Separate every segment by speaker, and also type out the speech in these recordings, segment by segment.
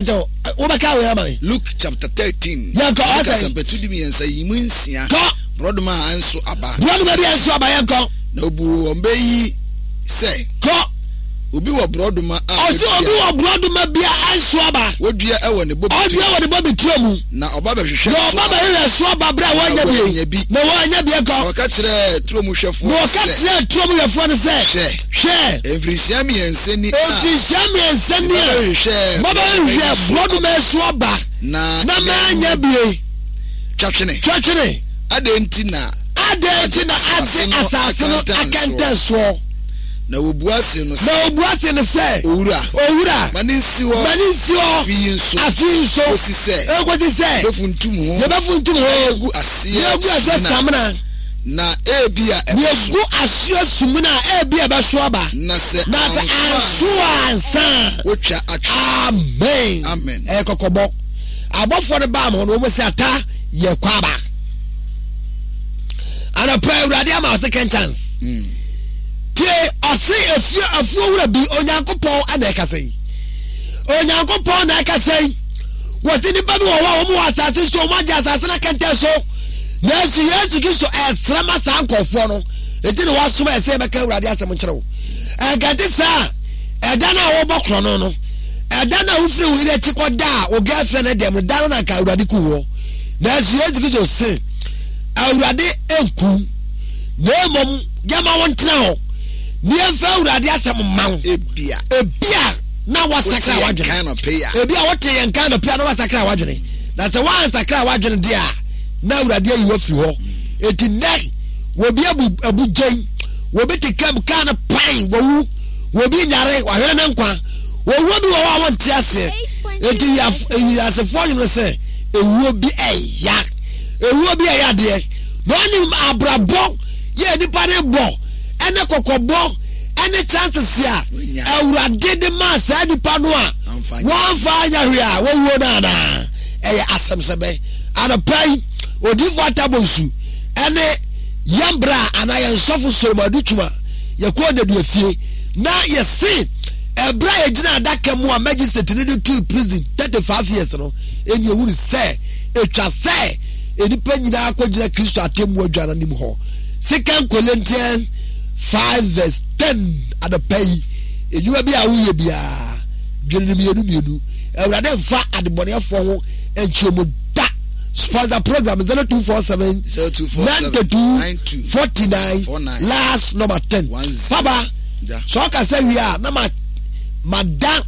Speaker 1: Nkyɛ wobɛka wei ama me.
Speaker 2: Luke chapter 13.
Speaker 1: Yɛnkɔ
Speaker 2: Luka
Speaker 1: ɔsɛ.
Speaker 2: asɛmpatu du mmiɛnsa yi mu nsia.
Speaker 1: Kɔ.
Speaker 2: Borɔdoma a ɛnso aba.
Speaker 1: Borɔdoma bi a ɛnso aba yɛnkɔ.
Speaker 2: Na obuu wɔn bɛ yi sɛ.
Speaker 1: Kɔ.
Speaker 2: Obi wɔ borɔdoma a.
Speaker 1: Ɔsi obi wɔ borɔdoma bi a ɛnso aba.
Speaker 2: Wodua wɔ ne bobe
Speaker 1: turo. Ɔdua wɔ ne bobe turo mu.
Speaker 2: Na ɔba bɛhwehwɛ so
Speaker 1: aba. Na ɔba bɛhwehwɛ so aba bere a wɔanya bi. Na wɔanya bi kɔ.
Speaker 2: Na ɔka kyerɛɛ turo mu hwɛfoɔ
Speaker 1: no sɛ. Na ɔka kyerɛɛ turo mu hwɛfoɔ no sɛ.
Speaker 2: Hwɛ.
Speaker 1: Hwɛ.
Speaker 2: Mfirihyia mmiɛnsa ni a.
Speaker 1: Mfirihyia mmiɛnsa ni a. Mabɛhwehwɛ borɔdoma yi so aba.
Speaker 2: Na
Speaker 1: manya bie.
Speaker 2: Twa twene.
Speaker 1: Twa twene.
Speaker 2: Adɛn nti na.
Speaker 1: Adɛn nti na agye asase no akɛntɛn soɔ?
Speaker 2: Na wɔbua see no sɛ.
Speaker 1: Na wɔbua see no sɛ.
Speaker 2: Owura.
Speaker 1: Owura.
Speaker 2: Ma no nsi hɔ.
Speaker 1: Ma no nsi hɔ.
Speaker 2: Afe yi nso.
Speaker 1: Afe yi nso.
Speaker 2: Kɔsi sɛ.
Speaker 1: Kɔsi sɛ.
Speaker 2: Yɛbɛfuntum ho.
Speaker 1: Yɛbɛfuntum ho.
Speaker 2: Na yɛagu aseɛ.
Speaker 1: Na yɛagu aseɛ samina.
Speaker 2: Na ebia ɛbɛso.
Speaker 1: Yɛgu aseɛ sumina a, ebia ɛbɛso aba.
Speaker 2: Na sɛ
Speaker 1: Na sɛ anso ansa a.
Speaker 2: Wotwa atwe.
Speaker 1: Amen.
Speaker 2: Amen.
Speaker 1: Ɛyɛ kɔkɔbɔ. Abɔfoɔ no baa mo hɔ no, wɔn sɛ ata yɛ kɔ aba. Anɔpa Awurade ama ɔse second chance. Mm. Tie ɔse efie afuo wura bi Onyankopɔn na ɛkasa yi. Onyankopɔn na ɛkasa yi. Wɔsi nipa bi wɔ hɔ a wɔn wɔ asase so, wɔn agye asase no akɛntɛn so. Nanso Yesu Kristo ɛresrɛ ma saa nkurɔfoɔ no, enti na wasoma yɛ sɛ yɛbɛka Awurade asɛm nkyerɛ wo. Ɛnka saa ɛda no a wɔbɔ korɔno no, ɛda no a wofiri wo yere akyi kɔda a wo girlfriend no dɛm no, da no na nka Awurade ku woɔ. Nanso Yesu Kristo se, Awurade nku, na mmom yɛma wo ntena hɔ, na yɛmfa Awurade asɛm mma wo.
Speaker 2: Ebia.
Speaker 1: Ebia na wasakra w'adwene. Ebia wote yɛn nka anɔpa na wasakra w'adwene. Na sɛ woansakra w'adwene deɛ a, na Awurade ayi wo afiri hɔ. Enti nnɛ, wɔbi abu abu gyɛn, wɔbi te kam kaa no pan, wɔwu, wɔbi nyare, wahwere ne nkwa. Owuo bi wɔ hɔ a wɔnte aseɛ. Enti wiasefoɔ nwene sɛ ewuo bi ɛya, ewuo bi ɛyɛ adeɛ. Na ɔnim abrabɔ yɛ nipa ne bɔ ɛne kɔkɔbɔ ɛne chances a Awurade de maa saa nipa no a wɔamfa anyɛ hwee a wɔwuo no anaa? Ɛyɛ asɛm sɛ bɛn? Anɔpa yi, Odiyifo Atta Bonsu ne yɛn bra anaa yɛn sɔfo Solomon Adutwum a yɛkɔɔ nnadua fie na yɛse ɛberɛ a yɛgyina adaka mu a magistrate no de tui prison 35 years no, ɛni ehunu sɛ ɛtwa sɛ nnipa nyinaa kɔgyina Kristo atemmu adwa no anim hɔ. Second Corinthians 5 verse 10 anɔpa yi, nnwuma bi a woyɛ biara, dwene no mmienu mmienu. Awurade mfa adebɔneyɛfoɔ ho nkyerɛ mu da. Sponsor program 0247 92 49 last number 10. Papa, sɛ ɔkasa wie a na ma mada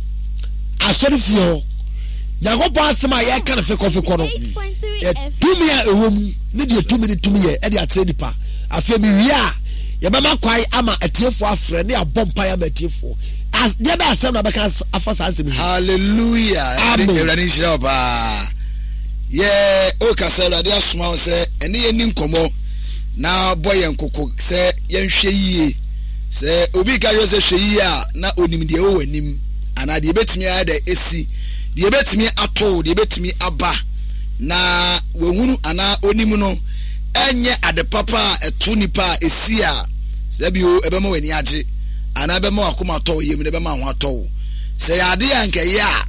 Speaker 1: asɔre fie hɔ. Nyankopɔn asɛm a yɛka no fekɔfekɔ no, tumi a ɛwɔ mu ne deɛ tumi no tumi yɛ ɛde akyerɛ nipa. Afei mewie a yɛbɛma kwan ama atiefoɔ afrɛ ne abɔ mpaeɛ ama atiefoɔ. As deɛ bɛ asɛm na bɛka afa saa nsɛm yi.
Speaker 2: Hallelujah.
Speaker 1: Amen.
Speaker 2: Awurade nhyira wo paa. Yɛ okasa Awurade asoma wo sɛ ɛne yɛn ni nkɔmmɔ na bɔ yɛn koko sɛ yɛnhwɛ yie. Sɛ obi ka kyerɛ sɛ hwɛ yie a na onim deɛ ɛwɔ w'anim anaa deɛ ebetumi ayɛ dɛ esi, deɛ ebetumi ato, deɛ ebetumi aba na wahunu anaa onim no ɛnyɛ ade papa a ɛto nipa a esi a sɛ bio ɛbɛma w'ani agye. anaa ɛbɛma w'akoma atɔ wo yam na ɛbɛma ho atɔ wo. Sɛ yɛ adeɛ a nka ɛyɛ a,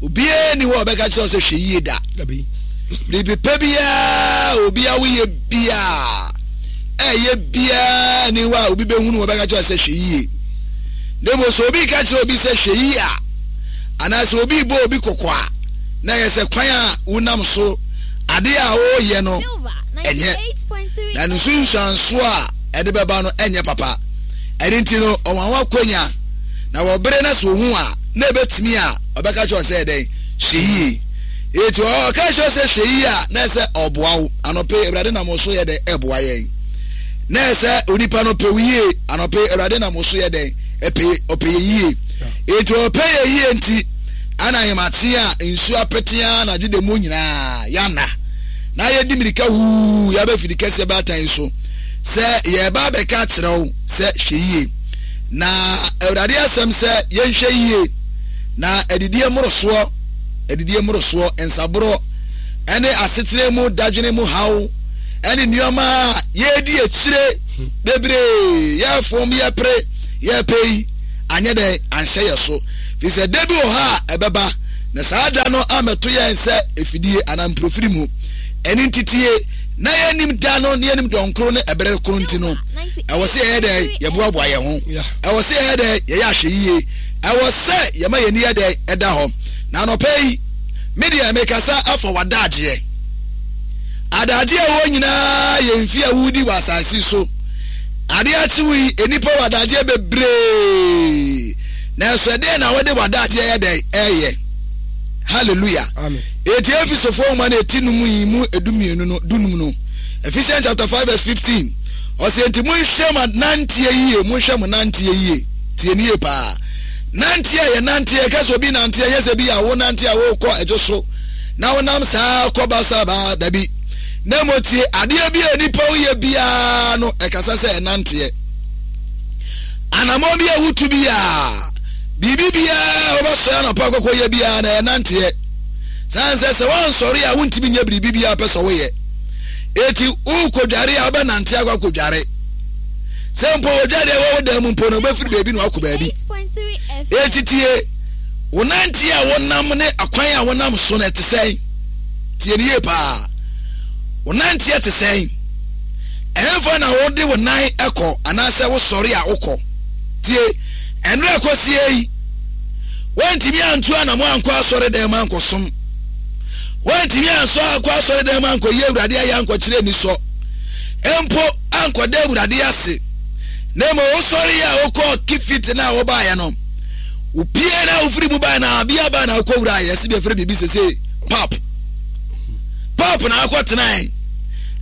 Speaker 2: obiara ni hɔ a ɔbɛka kyerɛ wo sɛ hwɛ yie da. Biribi pɛ biara obi a woyɛ biara ɛyɛ biara ni hɔ a obi bɛhunu wɔbɛka kyerɛ sɛ hwɛ yie. Na mmom sɛ obi ka kyerɛ obi sɛ hwɛ yie a, anaasɛ obi bɔ obi kɔkɔ a, na ɛyɛ sɛ kwan a wonam so adeɛ a wɔreyɛ no ɛnyɛ na ne nsunsuansoɔ a ɛde bɛba no ɛnyɛ papa. Ɛno nti no, ɔma ho akwanya, na wɔ bere na sɛ ohu a, na ebetumi a, ɔbɛka kyerɛ sɛ dɛn? Hwɛ yie. Eti ɔka kyerɛ sɛ hwɛ yie a, na ɛsɛ ɔboa wo. Anɔpe, Awurade nam wo so yɛ dɛn? Ɛboa yɛn. Na ɛsɛ onipa no pɛ wo yie. Anɔpe, Awurade nam wo so yɛ dɛn? Ɛpɛ, ɔpɛ yɛ yie. Eti ɔpɛ yɛ yie nti, ana ahemakye a nsuo apete ara na dweda mu nyinaa yɛana. Na yɛdi mirika huu yɛaba fidi kɛseɛ baatan so. Sɛ yɛreba abɛka akyerɛ wo sɛ hwɛ yie, na Awurade asɛm sɛ yɛnhwɛ yie, na adidie mmorosoɔ, adidie mmorosoɔ, nsaborɔ, ɛne asetena mu dadwene mu haw, ɛne nneɛma a yɛredi akyire bebree, yɛfom, yɛpere, yɛpɛ yi, anyɛ dɛn anhyɛ yɛ so. Firi sɛ da bi wɔ hɔ a ɛbɛba. Na saa da no ammɛto yɛn sɛ afidie anaa mprofiri mu. Ɛno nti tie, na yɛnnim da no ne yɛnnim dɔnkoro ne ɛberɛ koro nti no, ɛwɔ sɛ yɛyɛ dɛn? Yɛboaboa yɛn ho. Ɛwɔ sɛ yɛyɛ dɛn? Yɛyɛ ahwɛyie. Ɛwɔ sɛ yɛma yɛn ani yɛ dɛn? Ɛda hɔ. Na anɔpa yi, me deɛ mekasa afa w'adagyeɛ. Adagyeɛ a ɛwɔ nyinaa yɛ mfie a wodi wɔ asase so. Adeɛ akye wo yi, nnipa wɔ adagyeɛ bebree. Nanso ɛdeɛn na wode w'adagyeɛ yɛ dɛn? Ɛyɛ. Hallelujah.
Speaker 1: Amen.
Speaker 2: Eti Efesofoɔ nwoma no eti num yi mu edumienu no dunum no. Ephesians chapter 5 verse 15. Ɔsɛ enti monhwɛ mo nanteɛ yie, monhwɛ mo nanteɛ yie. Tie ne yie paa. Nanteɛ yɛ nanteɛ, ɛka sɛ obi nanteɛ nyɛ sɛ bi a wo nante a wokɔ ɛdwo so na wonam saa kɔ basa baa dabi. Na mmom tie adeɛ bi a nipa woyɛ biara no ɛkasa sɛ ɛnanteɛ. Anamɔn bi a wotu biara, biribi biara a wobɛsɔre anɔpa kɔkɔ yɛ biara na ɛnanteɛ. Saa nsɛ sɛ woansɔre a wontumi nyɛ biribi biara pɛ sɛ woyɛ. Eti wokɔdware a wobɛnante akɔ akɔdware. Sɛ mpo wodware a ɛwɔ wo dan mu mpo no wobɛfiri baabi na wakɔ baabi. Eti tie, wo nanteɛ a wonam ne akwan a wonam so no ɛte sɛn? Tie no yie paa. Wo nanteɛ te sɛn? Ɛhefa na wode wo nan kɔ anaasɛ wosɔre a wokɔ? Tie, ɛnora kɔsie yi, woantumi antu anamo ankɔ asɔredan mu ankɔsom. Woantumi ansɔ ankɔ asɔredan mu ankɔyi Awurade ayɛ ankɔkyerɛ anisɔ. Mpo ankɔda Awurade ase. Na mmom wosɔre a wokɔɔ kifit no a wobaeɛ no, wopie na wofiri mu baeɛ na abia baa na wokɔwura yɛse bi afrɛ biribi sese pap. Pap na akɔtenae.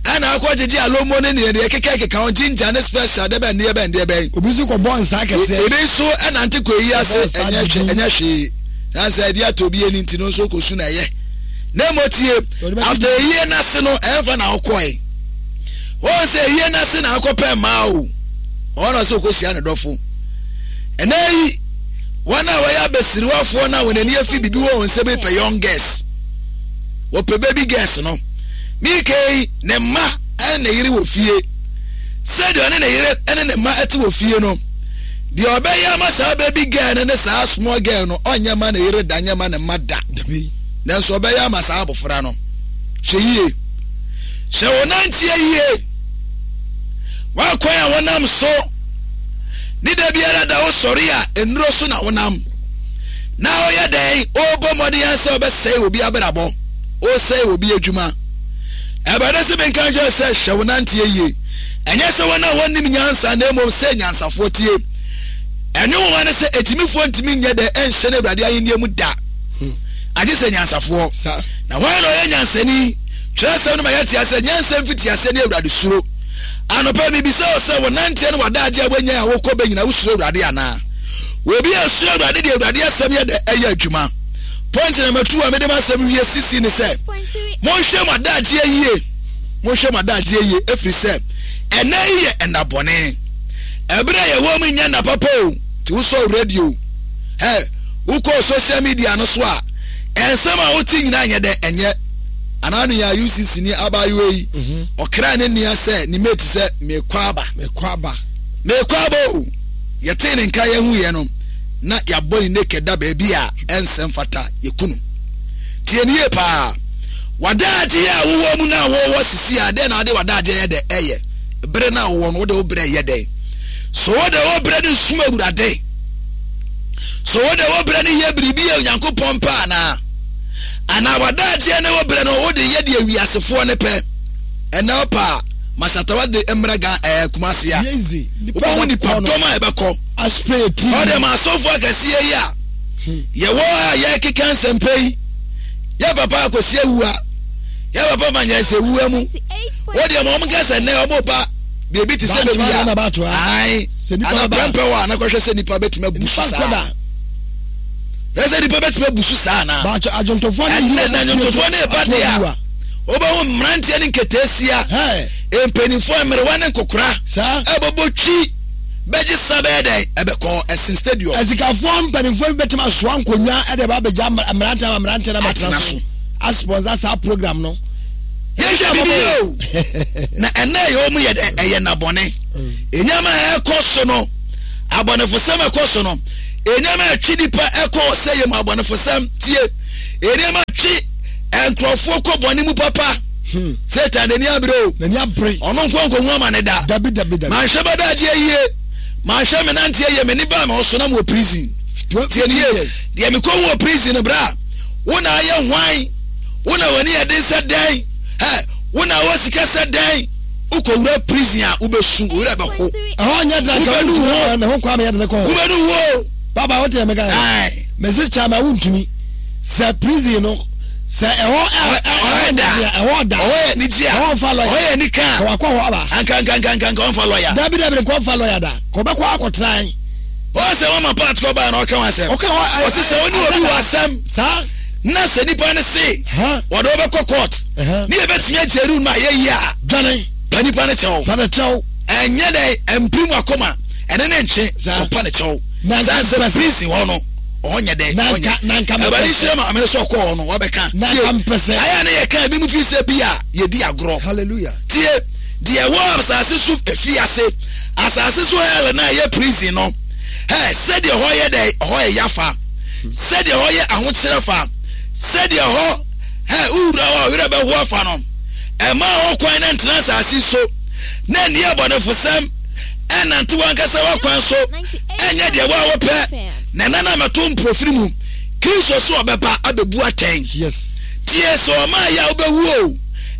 Speaker 2: Ɛna akɔ gyegye alomo ne neɛ deɛ keka keka ho ginger ne special deɛ bɛn deɛ bɛn deɛ bɛn.
Speaker 1: Obi nso kɔ bɔ nsa kɛseɛ.
Speaker 2: Ebi nso ɛnante kɔ eyi ase ɛnyɛ hwɛ ɛnyɛ hwee. Nansa ɛdi atɔ obi ani nti no nso kɔ su na ɛyɛ. Na emo tie after eyie n'ase no ɛnfa na ɔkɔɛ. Wɔn sɛ eyie n'ase na akɔ pɛ mmaa o. Wɔn na ɔsɛ ɔkɔ hyia ne dɔfo. Ɛnɛ yi wɔn a wɔyɛ abasiriwafoɔ na wɔn ani afi bibi wɔ wɔn nsam pɛ young girls. Wɔpɛ baby girls no. Mika yi, ne mma ne ne yere wɔ fie. Sɛdeɛ ɔne ne yere ne ne mma te wɔ fie no, deɛ ɔbɛyɛ ama saa baby girl no ne saa small girl no, ɔnyɛ ma ne yere da, nyɛ ma ne mma da. Nanso ɔbɛyɛ ama saa abɔfra no. Hwɛ yie. Hwɛ wo nanteɛ yie. W'akwan a wonam so ne da biara da wosɔre a nnuro so na wonam. Na woyɛ dɛn? Wobɔ mmɔden sɛ wobɛsɛe obi abrabɔ. Wosɛe obi adwuma. Awurade se menka nkyerɛ sɛ hyɛ wo nanteɛ yie. Ɛnyɛ sɛ wɔn a wɔnnim nyansa na mmom sɛ nyansafoɔ tie. Ɛne nwoma ne sɛ akyimifoɔ ntumi nyɛ dɛ ɛnhyɛne Awurade ahennie mu da. Agye sɛ nyansafoɔ. Na hwan na ɔyɛ nyansani? Twerɛsɛm no ma yɛte aseɛ nyansa mfitiaseɛ ne Awurade suro. Anɔpa mebisa wo sɛ wo nanteɛ ne w'adaagye a woanya a wokɔ bɛ nyina wosuro Awurade anaa? Obi a osuro Awurade de Awurade asɛm yɛ dɛ ɛyɛ adwuma. Point number two a mede m'asɛm wie sisi ne sɛ, monhwɛ mo adagyeɛ yie, monhwɛ mo adagyeɛ yie, ɛfiri sɛ ɛnɛ yi yɛ ɛnna bɔne. Ɛberɛ a yɛwɔ mu nyɛ nna papa o, nti wosɔ radio, ɛ wokɔ social media no so a, ɛnsɛm a wote nyinaa nyɛ dɛ ɛnyɛ. Anaa no yɛ a UCC ni abaayewa yi, mhm. ɔkra ne nua sɛ ne mate sɛ mekɔ aba.
Speaker 1: Mekɔ aba.
Speaker 2: Mekɔ aba o. Yɛtee ne nka yɛhuiɛ no, na yɛabɔ ne naked da baabi a ɛnsɛ mfata yɛku no. Tie no yie paa. W'adaagyeɛ a wowɔ mu no a wowɔ sisi a, dɛn na wode w'adaagyeɛ yɛ dɛ ɛyɛ? Bere no a wowɔ no, wode wo berɛ yɛ dɛn? So wode wo berɛ no sum Awurade? So wode wo berɛ no yɛ biribi a Onyankopɔn pɛ anaa? Anaa w'adaagyeɛ ne wo berɛ no wode yɛ deɛ wiasefoɔ no pɛ? Ɛnɛ ɔpa a, Masatawa de mmra Ga ɛɛ Kumasi a, wobɛhu nipa dɔm a ɛbɛkɔ. Ɔde ma asɔfo akɛseɛ yi a hmm. yɛwɔ a yɛkeka nsɛmpɛ yi, yɛ papa akɔsi awua, yɛ papa ma nyɛ sɛ wua mu. Wodeɛ ma wɔn ka sɛ nnɛ wɔn ba biribi te sɛ baabi a, ae, ana prɛmpɛ wɔ a na kɔhwɛ sɛ nipa bɛtumi abu so saa. Ɛsɛ nipa bɛtumi abu so saa anaa?
Speaker 1: Ɛnɛ
Speaker 2: na adwontofoɔ ne ɛba deɛ a, wobɛhu mmeranteɛ ne nketeesia, mpanimfoɔ, mmerewa ne nkokora, ɛbɛbɔ twi bɛgye sa bɛyɛ dɛn ɛbɛkɔ ɛsen stadium.
Speaker 1: Asikafoɔ mpanimfoɔ bi bɛtumi asoa nkonnwa ɛde ba abɛgya mmeranteɛ ama mmeranteɛ no abɛtena so asponsor saa program no.
Speaker 2: Yɛhwɛ bibi yɛ o na ɛnɛ ɛyɛ wɔn yɛ dɛ ɛyɛ nabɔne nneɛma a ɛkɔ so no abɔnefosɛm ɛkɔ so no nneɛma ɛtwe nipa ɛkɔ ɔsɛ yɛ mu abɔnefosɛm tie. Nneɛma twe nkurɔfoɔ kɔ bɔne mu papa. Satan n'ani abere o.
Speaker 1: N'ani abere.
Speaker 2: Ɔno nko nkohu ama ne da.
Speaker 1: Dabi dabi dabi.
Speaker 2: Manhwɛ bɛdaagye yie. Manhwɛ me nanteɛ yie. Me ne baa me ho so na mewɔ prison. Tie ne yie. Deɛ mekɔhu wɔ prison no bra. Wo na ayɛ hwan? Wo na w'ani yɛ den sɛ dɛn? Hɛ, wo na wɔ sika sɛ dɛn? Wokɔwura prison a wobɛsu, wo werɛ bɛho.
Speaker 1: Ɛhɔ nyɛ dra nka wontumi ne ho kɔ ameyɛ de ne kɔ hɔ.
Speaker 2: Wobɛnu wo.
Speaker 1: Baba wote na meka yɛ. Mese kyama wontumi. Sɛ prison no sɛ ɛhɔ ɛhɔ da ɛhɔ da
Speaker 2: ɛhɔ yɛ anigye a
Speaker 1: ɛhɔ nfa lɔya
Speaker 2: ɛhɔ yɛ anika
Speaker 1: a wakɔ hɔ aba
Speaker 2: anka nka nka nka nka ɔnfa lɔya
Speaker 1: dabi dabi nka ɔnfa lɔya da kɔ bɛkɔ akɔtran.
Speaker 2: Wɔn sɛ wɔn ma part kɔ baa na ɔka wɔn asɛm
Speaker 1: ɔka wɔn
Speaker 2: ɔsi sɛ ɔne obi wɔ asɛm
Speaker 1: saa
Speaker 2: na sɛ nipa no se wɔde wɔbɛkɔ court ne yɛbɛtumi agye eru no a yɛyi a
Speaker 1: dwane
Speaker 2: pa nipa no kyɛw
Speaker 1: pa ne kyɛw
Speaker 2: ɛnyɛ dɛ mpirim akoma ɛne ne ntwe ɔpa ne kyɛw saa sɛ prison hɔ no ɔnyɛ dɛ ɔnyɛ ɛbɛde nhyira ma amene sɛ ɔkɔɔ hɔ no wabɛka
Speaker 1: tie
Speaker 2: ayɛ ne yɛka ebi mu fi sɛ bi a yɛdi agorɔ
Speaker 1: hallelujah
Speaker 2: tie deɛ ɛwɔ asase so efi ase asase so hell na ɛyɛ prison no hɛ sɛdeɛ hɔ yɛ dɛ hɔ yɛ yafa sɛdeɛ hɔ yɛ ahokyerɛ fa sɛdeɛ hɔ hɛ wowura hɔ werɛ bɛho afa no ɛma hɔ kwan na ntena asase so na nni abɔnefosɛm ɛnante wankasa w'akwan so ɛnyɛ deɛ wo a wopɛ na ɛna na mɛto mprofiri mu Kristo so ɔbɛba abɛbu atɛn.
Speaker 1: Yes.
Speaker 2: Tie sɛ ɔma ayɛ a wobɛwu o.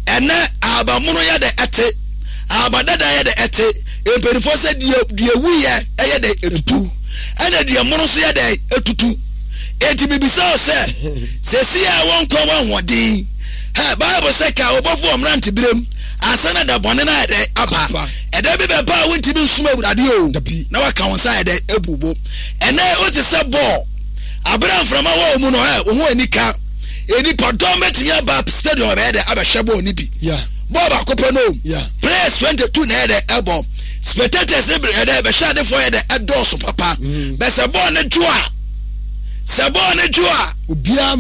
Speaker 2: Ɛnɛ ahabanmono yɛ dɛ ɛte, ahabadada yɛ dɛ ɛte. Mpanimfoɔ sɛ deɛ deɛ wuyɛ ɛyɛ dɛ etutu, ɛna deɛ mono nso yɛ dɛ etutu. Enti mibisa wo sɛ, sɛsi a wɔ nkwa wɔ ahoɔden. Hɛ, Bible sɛ ka ɔbɔfo wɔ mmeranteberem ansa na da bɔne no ayɛ dɛ aba. Ɛda bi bɛba a wontumi nsom Awurade o, na waka wo nsa ayɛ dɛ abu bo. Ɛnɛ wote sɛ bɔɔl, abere a mframa wɔ wo mu no, ɛ, wo ho ani ka. Nnipa dɔm bɛtumi aba stadium abɛyɛ dɛ abɛhwɛ bɔɔl no bi. Bɔɔl baako pɛ no o. Players 22 na ɛyɛ dɛ ɛbɔ. Spectators ne yɛ dɛ bɛhwɛ adefoɔ yɛ dɛ ɛdɔɔso papa. Mm. Bɛ sɛ bɔɔl no dwo a, sɛ bɔɔl no dwo a,
Speaker 1: obiara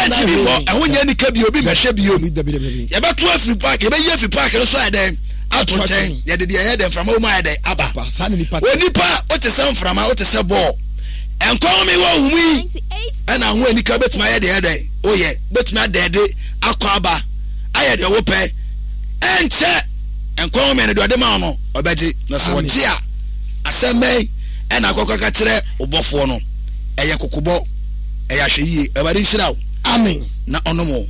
Speaker 2: ntumi mmɔ, ɛho nyɛ nika bio, obi mmɛhwɛ bio. Yɛbɛto afiri park, yɛbɛyi afiri park no so ayɛ dɛn? Ato nkyɛn. Yɛde deɛ ɛyɛ dɛ mframa wɔ mu ayɛ dɛn? Aba. Onipa wote sɛ mframa, wote sɛ bɔɔl. Nkwa home wɔ wo mu yi ɛna ho anika bɛtumi ayɛ deɛ ɛdɛn woyɛ bɛtumi adɛɛde akɔ aba ayɛ deɛ wopɛ ɛnkyɛ nkwa home no deɛ ɔde ma wo no ɔbɛgye na sɛ ɔgye a asɛm bɛn ɛna akɔkɔ ka kyerɛ ɔbɔfoɔ no ɛyɛ kokobɔ ɛyɛ ahwɛyie. Awurade nhyira wo.
Speaker 1: Amen.
Speaker 2: Na ɔnom wo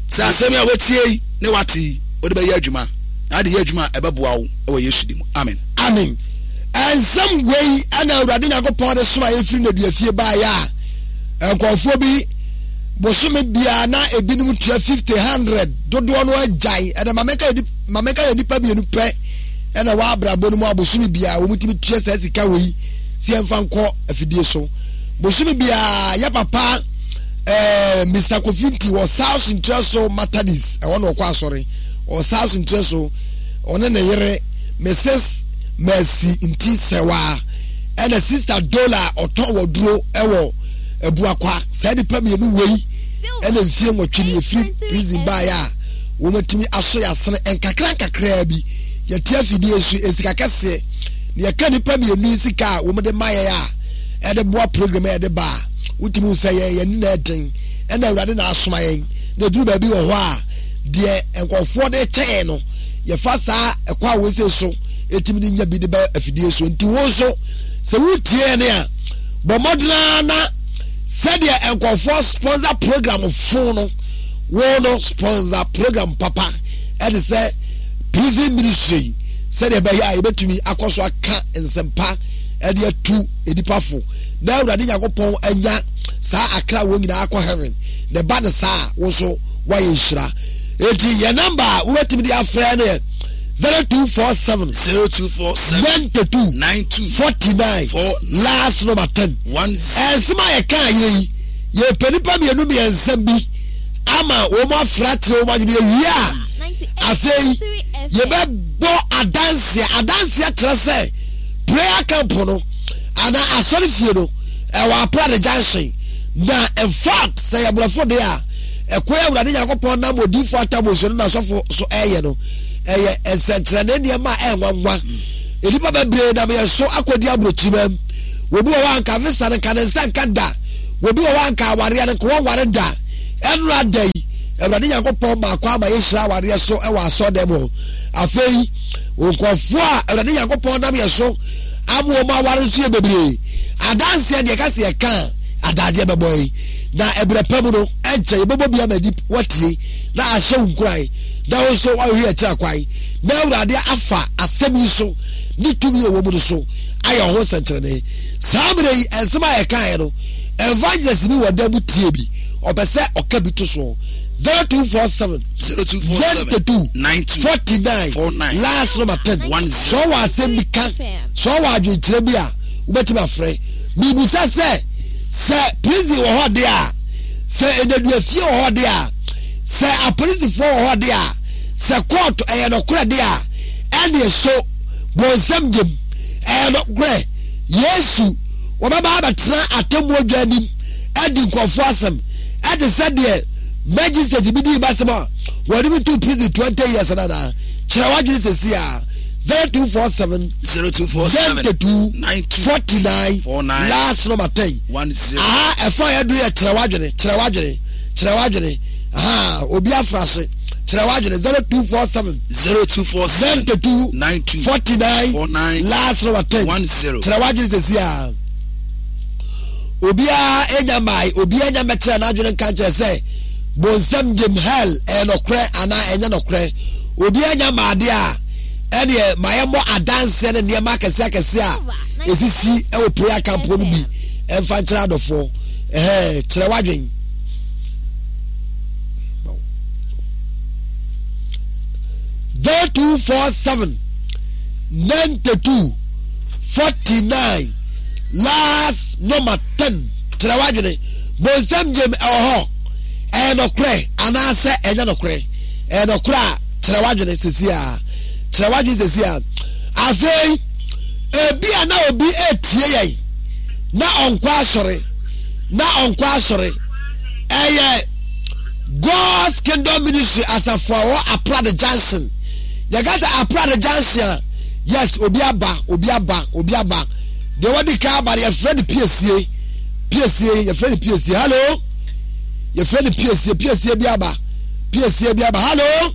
Speaker 2: sɛ asɛm yi a woatie yi ne wate yi wode bɛyɛ adwuma na ade yɛ adwuma a ɛbɛboa wo wɔ Yesu din mu. Amen.
Speaker 1: Amen. Nsɛm wei ɛna Awurade Nyankopɔn de soma yɛfiri nneduafie baeɛ a nkurɔfoɔ bi bosome biara na ebinom tua 50 100 dodoɔ no agyae ɛna ma menka yɛ nnipa mmienu pɛ ɛna wɔ abrabɔ no mu a bosome biara wɔn tumi tua saa sika wei sɛ yɛmfa nkɔ afidie so bosome biara yɛ papa ɛɛ Mr Kofi nti wɔ South Nkyerɛ so Matadis ɛhɔ na ɔkɔ asɔre wɔ South Nkyerɛ so ɔne ne yere Mrs Mercy Nti Sɛwa ɛna Sister Dola ɔtɔn wɔ duro ɛwɔ Abuakwa saa nipa mmienu wei ɛna mfie nwɔtwe ne efiri prison baeɛ a wɔn atumi aso yɛ asene nkakra nkakraa bi yɛte afidie so esika kɛseɛ na yɛka nipa mmienu yi sika a wɔn de ma yɛn a ɛde boa program a yɛde ba a wotumi hu sɛ yɛn yɛn na ɛden ɛna awurade na asoma yɛn na eduru baabi wɔ hɔ a deɛ nkurɔfoɔ de kyɛ yɛn no yɛfa saa ɛkɔ a wɔsɛ so etumi de nya bi de ba afidie so nti wɔn nso sɛ wotie yɛn a bɔ mmɔden ara na sɛdeɛ nkurɔfoɔ sponsor program fo no wɔn no sponsor program papa ɛde sɛ prison ministry sɛdeɛ ɛbɛyɛ a yɛbɛtumi akɔ so aka nsɛmpa ɛde atu nnipa fo na Awurade Nyankopɔn anya saa akra wɔn nyinaa akɔ heaven na ɛba no saa a wo nso woayɛ nhyira. Enti yɛn namba a wobɛtumi de afrɛ no yɛ 0247
Speaker 2: 0247
Speaker 1: 92
Speaker 2: 92
Speaker 1: 49
Speaker 2: 4
Speaker 1: last number 10
Speaker 2: 1
Speaker 1: ɛnsɛm a yɛka yɛ yi yɛpɛ nipa mmienu mmiɛnsa bi ama wɔn afra akyerɛ wɔn adwene yɛwie a afei yɛbɛbɔ adanseɛ adanseɛ kyerɛ sɛ prayer camp no anaa asɔre fie no ɛwɔ Aprade junction na in fact sɛ yɛ borɔfo de a ɛkwan a Awurade Nyankopɔn nam odiifo Ataboso ne n'asɔfo so ɛyɛ no ɛyɛ nsɛnkyerɛnne nneɛma a ɛnwanwa nnipa bebree nam yɛn so akɔdi aburokyima mu wɔbi wɔ hɔ anka visa no nka ne nsa nka da wɔbi wɔ hɔ anka awareɛ no nka wɔnware da. Ɛnora da yi, Awurade Nyankopɔn maa kwan ma yɛhyira awareɛ so wɔ asɔɔdɛm hɔ. Afei, nkurɔfoɔ a Awurade Nyankopɔn nam yɛ so ama wɔn aware nso yɛ bebree. Adanseɛ deɛ ɛka sɛ yɛka a, adagyeɛ bɛbɔ yi. Na ɛberɛ pa mu no, ɛnkyɛ yɛbɛbɔ bi ama nip watie na ahyɛ wo nkuran na wo nso woahwehwɛ akyiri akwan na Awurade afa asɛm yi so ne tumi a ɛwɔ mu no so ayɛ wo ho nsɛnkyerɛnne. Saa mmerɛ yi, nsɛm a yɛkaeɛ no, evangelist bi wɔ dan mu tie bi, ɔpɛ sɛ ɔka bi to soɔ. 0247
Speaker 2: 0247
Speaker 1: 92 49
Speaker 2: 49
Speaker 1: last number 10.
Speaker 2: 10.
Speaker 1: Sɛ ɔwɔ asɛm bi ka, sɛ ɔwɔ adwenkyerɛ bi a, wobɛtumi afrɛ. Mebisa sɛ, sɛ prison wɔ hɔ deɛ a, sɛ nnaduafie wɔ hɔ deɛ a, sɛ apolisifoɔ wɔ hɔ deɛ a, sɛ court ɛyɛ nɔkorɛ deɛ a, ɛneɛ so bonsam gyem ɛyɛ nɔkorɛ Yesu wɔbɛba abɛtena atemmuo dwa anim adi nkurɔfoɔ asɛm ɛte sɛ deɛ magistrate bi dii m'asɛm a wɔde me too prison 20 years no anaa? Kyerɛ w'adwene seesei ara. 0247
Speaker 2: 0247
Speaker 1: 92
Speaker 2: 92
Speaker 1: 49
Speaker 2: 49
Speaker 1: last number 10.
Speaker 2: 10.
Speaker 1: Aha ɛfa a yɛdu yɛ kyerɛ w'adwene kyerɛ w'adwene kyerɛ w'adwene aha obi afrahye kyerɛ w'adwene 0247
Speaker 2: 0247
Speaker 1: 92
Speaker 2: 92
Speaker 1: 49
Speaker 2: 49
Speaker 1: last number 10
Speaker 2: 10.
Speaker 1: kyerɛ w'adwene sɛsi a obiara enya mmae obiara nya mmɛkyerɛ n'adwene nka nkyerɛ sɛ bonsam gyem hell ɛyɛ nɔkorɛ anaa ɛnyɛ nɔkorɛ obiara nya mmaade a ɛneɛ ma yɛmmɔ adanseɛ ne nneɛma akɛseɛ akɛseɛ a ɛsisi ɛwɔ prayer camp hɔ no bi ɛmfa nkyerɛ adɔfoɔ ɛhɛn kyerɛ w'adwene 0247 92 49 last number 10 kyerɛ w'adwene bonsam gyem ɛwɔ hɔ ɛyɛ nɔkorɛ anaasɛ ɛnyɛ nɔkorɛ ɛyɛ nɔkorɛ a kyerɛ w'adwene sɛsi a kyerɛ w'adwene sɛsi a afei ebi a na obi etie yɛn na ɔnkɔ asɔre na ɔnkɔ asɔre ɛyɛ God's Kingdom Ministry asafo a wɔ Aprade Junction yɛka sɛ Aprade Junction a yes obi aba obi aba obi aba deɛ wɔde ka aba no yɛfrɛ no piesie piesie yɛfrɛ no piesie hello yɛfrɛ no piesie piesie bi aba piesie bi aba hello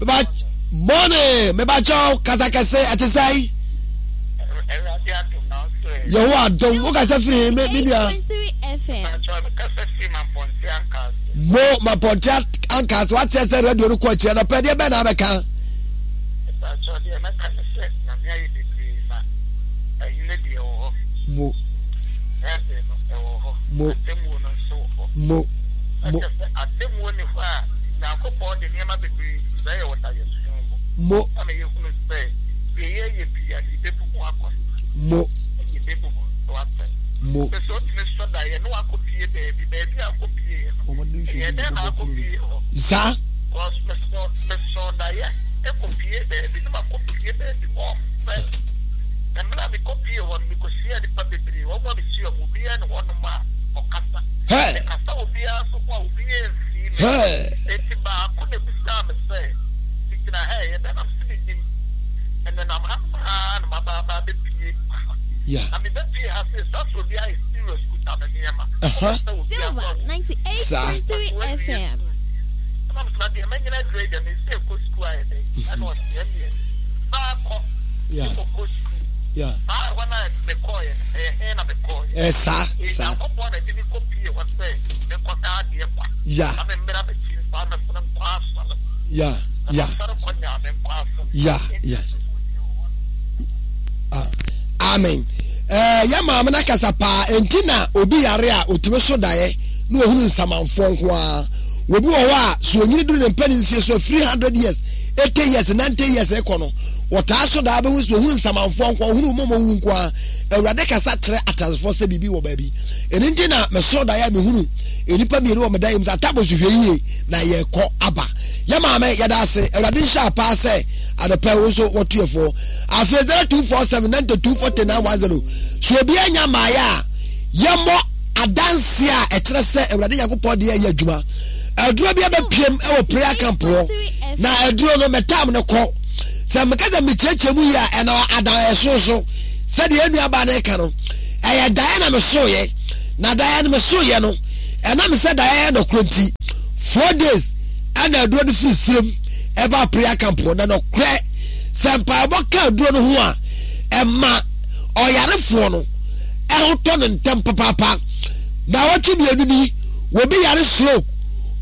Speaker 1: meba morning meba kyɛw kasa kɛse ɛte sɛn yehowa adom wo kasa firi me me nua mo mapɔnte ankaase wakyerɛ sɛ radio no kɔ akyirɛ no pɛ deɛ bɛn na abɛka mo mo mo mo
Speaker 3: Atemmuo nni hɔ a Nyankopɔn de nneɛma bebree brɛ yɛn wɔ daeɛso mu.
Speaker 1: Mo.
Speaker 3: Ama yɛhunu sɛ deɛ yɛyɛ biara no yɛbɛbu ho akɔnta.
Speaker 1: Mo.
Speaker 3: Yɛbɛbu ho nso atɛn.
Speaker 1: Mo.
Speaker 3: Sɛ sɛ wotumi sɔ daeɛ na wakɔpie baabi, baabi a wokɔpieeɛ no, ɛyɛ dɛn na akɔpie hɔ?
Speaker 1: Saa.
Speaker 3: Because mesɔ mesɔɔ daeɛ kɔpie baabi na makɔpie baabi hɔ fɛ. Na mmerɛ a mekɔpie hɔ no, mekɔhyiaa nnipa bebree, wɔn a mehyia wɔn, obiara nni hɔnom a ɔkasa. Mekasa obiara nso ho a, obiara mfii me. Enti baako na ebisaa me sɛ, Migyina ha ɛyɛ dɛn? Na mese, Minnim. Menenam hanom ara na maba aba abepue ha. Na mebepue ha sei, saa sɛ obi ayɛ serious kuta me nneɛma. Ɔpɛ sɛ obi
Speaker 4: Silver
Speaker 3: afa wo.
Speaker 4: 98.3 FM.
Speaker 3: Ɛna mese, na deɛ manyini aduru yi deɛ, mese kɔ sukuu ayɛ dɛn? Ɛna ɔse, ɛnneɛ baakɔ. Mekɔkɔ sukuu. Saa ɛhɔ no a mekɔeɛ no, ɛyɛ he na mekɔeɛ?
Speaker 1: Ɛyɛ saa, saa.
Speaker 3: Nyankopɔn na ɛde me kɔpie hɔ sɛ menkɔka adeɛ kwa.
Speaker 1: Ya.
Speaker 3: Na memmra m'akyi nsa mɛsene nkɔ asɔre.
Speaker 1: Ya,
Speaker 3: Na
Speaker 1: ya.
Speaker 3: masɔre kɔ Nyame nkɔ asɔre.
Speaker 1: Ya, ya. Ah, amen. Ɛɛ, yɛ maame no akasa paa, enti na obi yare a otumi so daeɛ na ohunu nsamanfoɔ nko ara. Obi wɔ hɔ a, so onyini duru ne mpanin mfie so a, firi 100 years, 80 years, 90 years rekɔ no, wɔtaa so daa bɛhu sɛ ohunu nsamanfoɔ nko ara, ohunu wɔn a wɔwu nko ara. Awurade kasa kyerɛ ateasefoɔ sɛ biribi wɔ baabi. Ɛno nti na mesoro daeɛ a mehunu nnipa mmienu wɔ me daeɛ mu sɛ Atabos hwɛ yie na yɛkɔ aba. Yɛ maame yɛda ase. Awurade nhyira paa sɛ anɔpa wo nso wɔto yɛ foɔ. Afei 0247 92 49 10 so obi anya mmaeɛ a yɛmmɔ adanseɛ a ɛkyerɛ sɛ Awurade Nyankopɔn de yɛyɛ adwuma. Aduro bi abɛpiem wɔ prayer camp hɔ na aduro no mɛtam no kɔ. Sɛ meka sɛ mekyerɛkyerɛ mu yie a ɛna adan ɛso so. Sɛdeɛ yɛn nuabaa no reka no, ɛyɛ daeɛ na mesoeɛ, na daeɛ no mesoeɛ no, Ɛnam sɛ daeɛ yɛ nɔkorɛ nti, 4 days ɛna aduro no firi serem ɛba prayer camp hɔ. Na nɔkorɛ sɛ mpaebɔ ka aduro no ho a, ɛma ɔyarefoɔ no ɛho tɔ no ntɛm papaapa. Na wɔtwe mmienu ni, wɔbi yare stroke,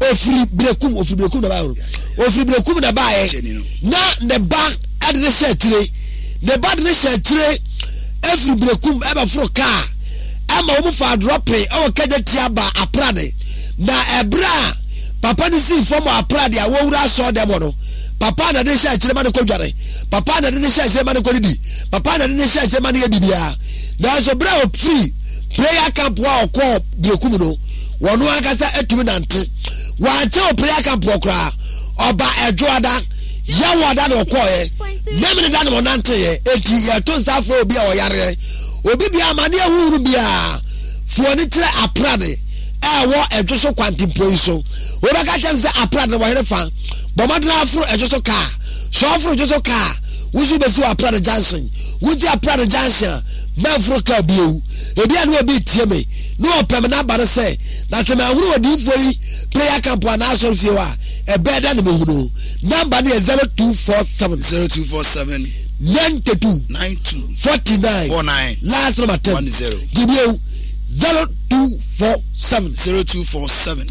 Speaker 1: ofiri Berekum, ofiri Berekum na baayɛ, ofiri Berekum na baayɛ, na ne ba ɛde ne hyɛ akyire, ne ba de ne hyɛ akyire efiri Berekum ɛbɛforo kaa ɛma wɔn fa adrɔpe ɛwɔ Kagya Tia ba Aprade. Na ɛbrɛ a papa no sii fam wɔ Aprade a wɔwura asɔɔ dɛm hɔ no, papa na de hyɛ akyire ma no kɔ dware, papa na de ne hyɛ akyire ma no kɔ didi, papa na de ne hyɛ akyire ma no yɛ biribiara. Nanso berɛ a ɔfiri prayer camp a ɔkɔɔ Berekum no, wɔn ankasa atumi nante. Wankyɛ wɔ prayer camp hɔ koraa, ɔba Ɛdwoada, Yawoada na ɔkɔɔɛ, Memene da na ɔnanteeɛ. Enti yɛto nsa afrɛ obi a ɔyareɛ, obi biara amaneɛ huhunu biara, foɔ ne kyerɛ Aprade a ɛwɔ Ɛdwo so kwantempɔn yi so. Wobɛka kyerɛ me sɛ Aprade no wɔ hene fa? Bɔ mmɔden aforo Ɛdwo so kaa. Sɛ ɔforo Ɛdwo so kaa a, wo nso wobɛsi wɔ Aprade junction. Wosi Aprade junction a, mɛmforo kaa bio. Ebia na obi retie me, na ɔpɛ me n'aba no sɛ, na sɛ manhunu odiyifoɔ yi prayer camp anaa asɔrefie hɔ a, ɛbɛyɛ dɛn na mɛhu no? Namba no yɛ 0247.
Speaker 2: 0247.
Speaker 1: 92.
Speaker 2: 92.
Speaker 1: 49.
Speaker 2: 49.
Speaker 1: Last number 10.
Speaker 2: 10.
Speaker 1: Gye bio, 0247.
Speaker 2: 0247.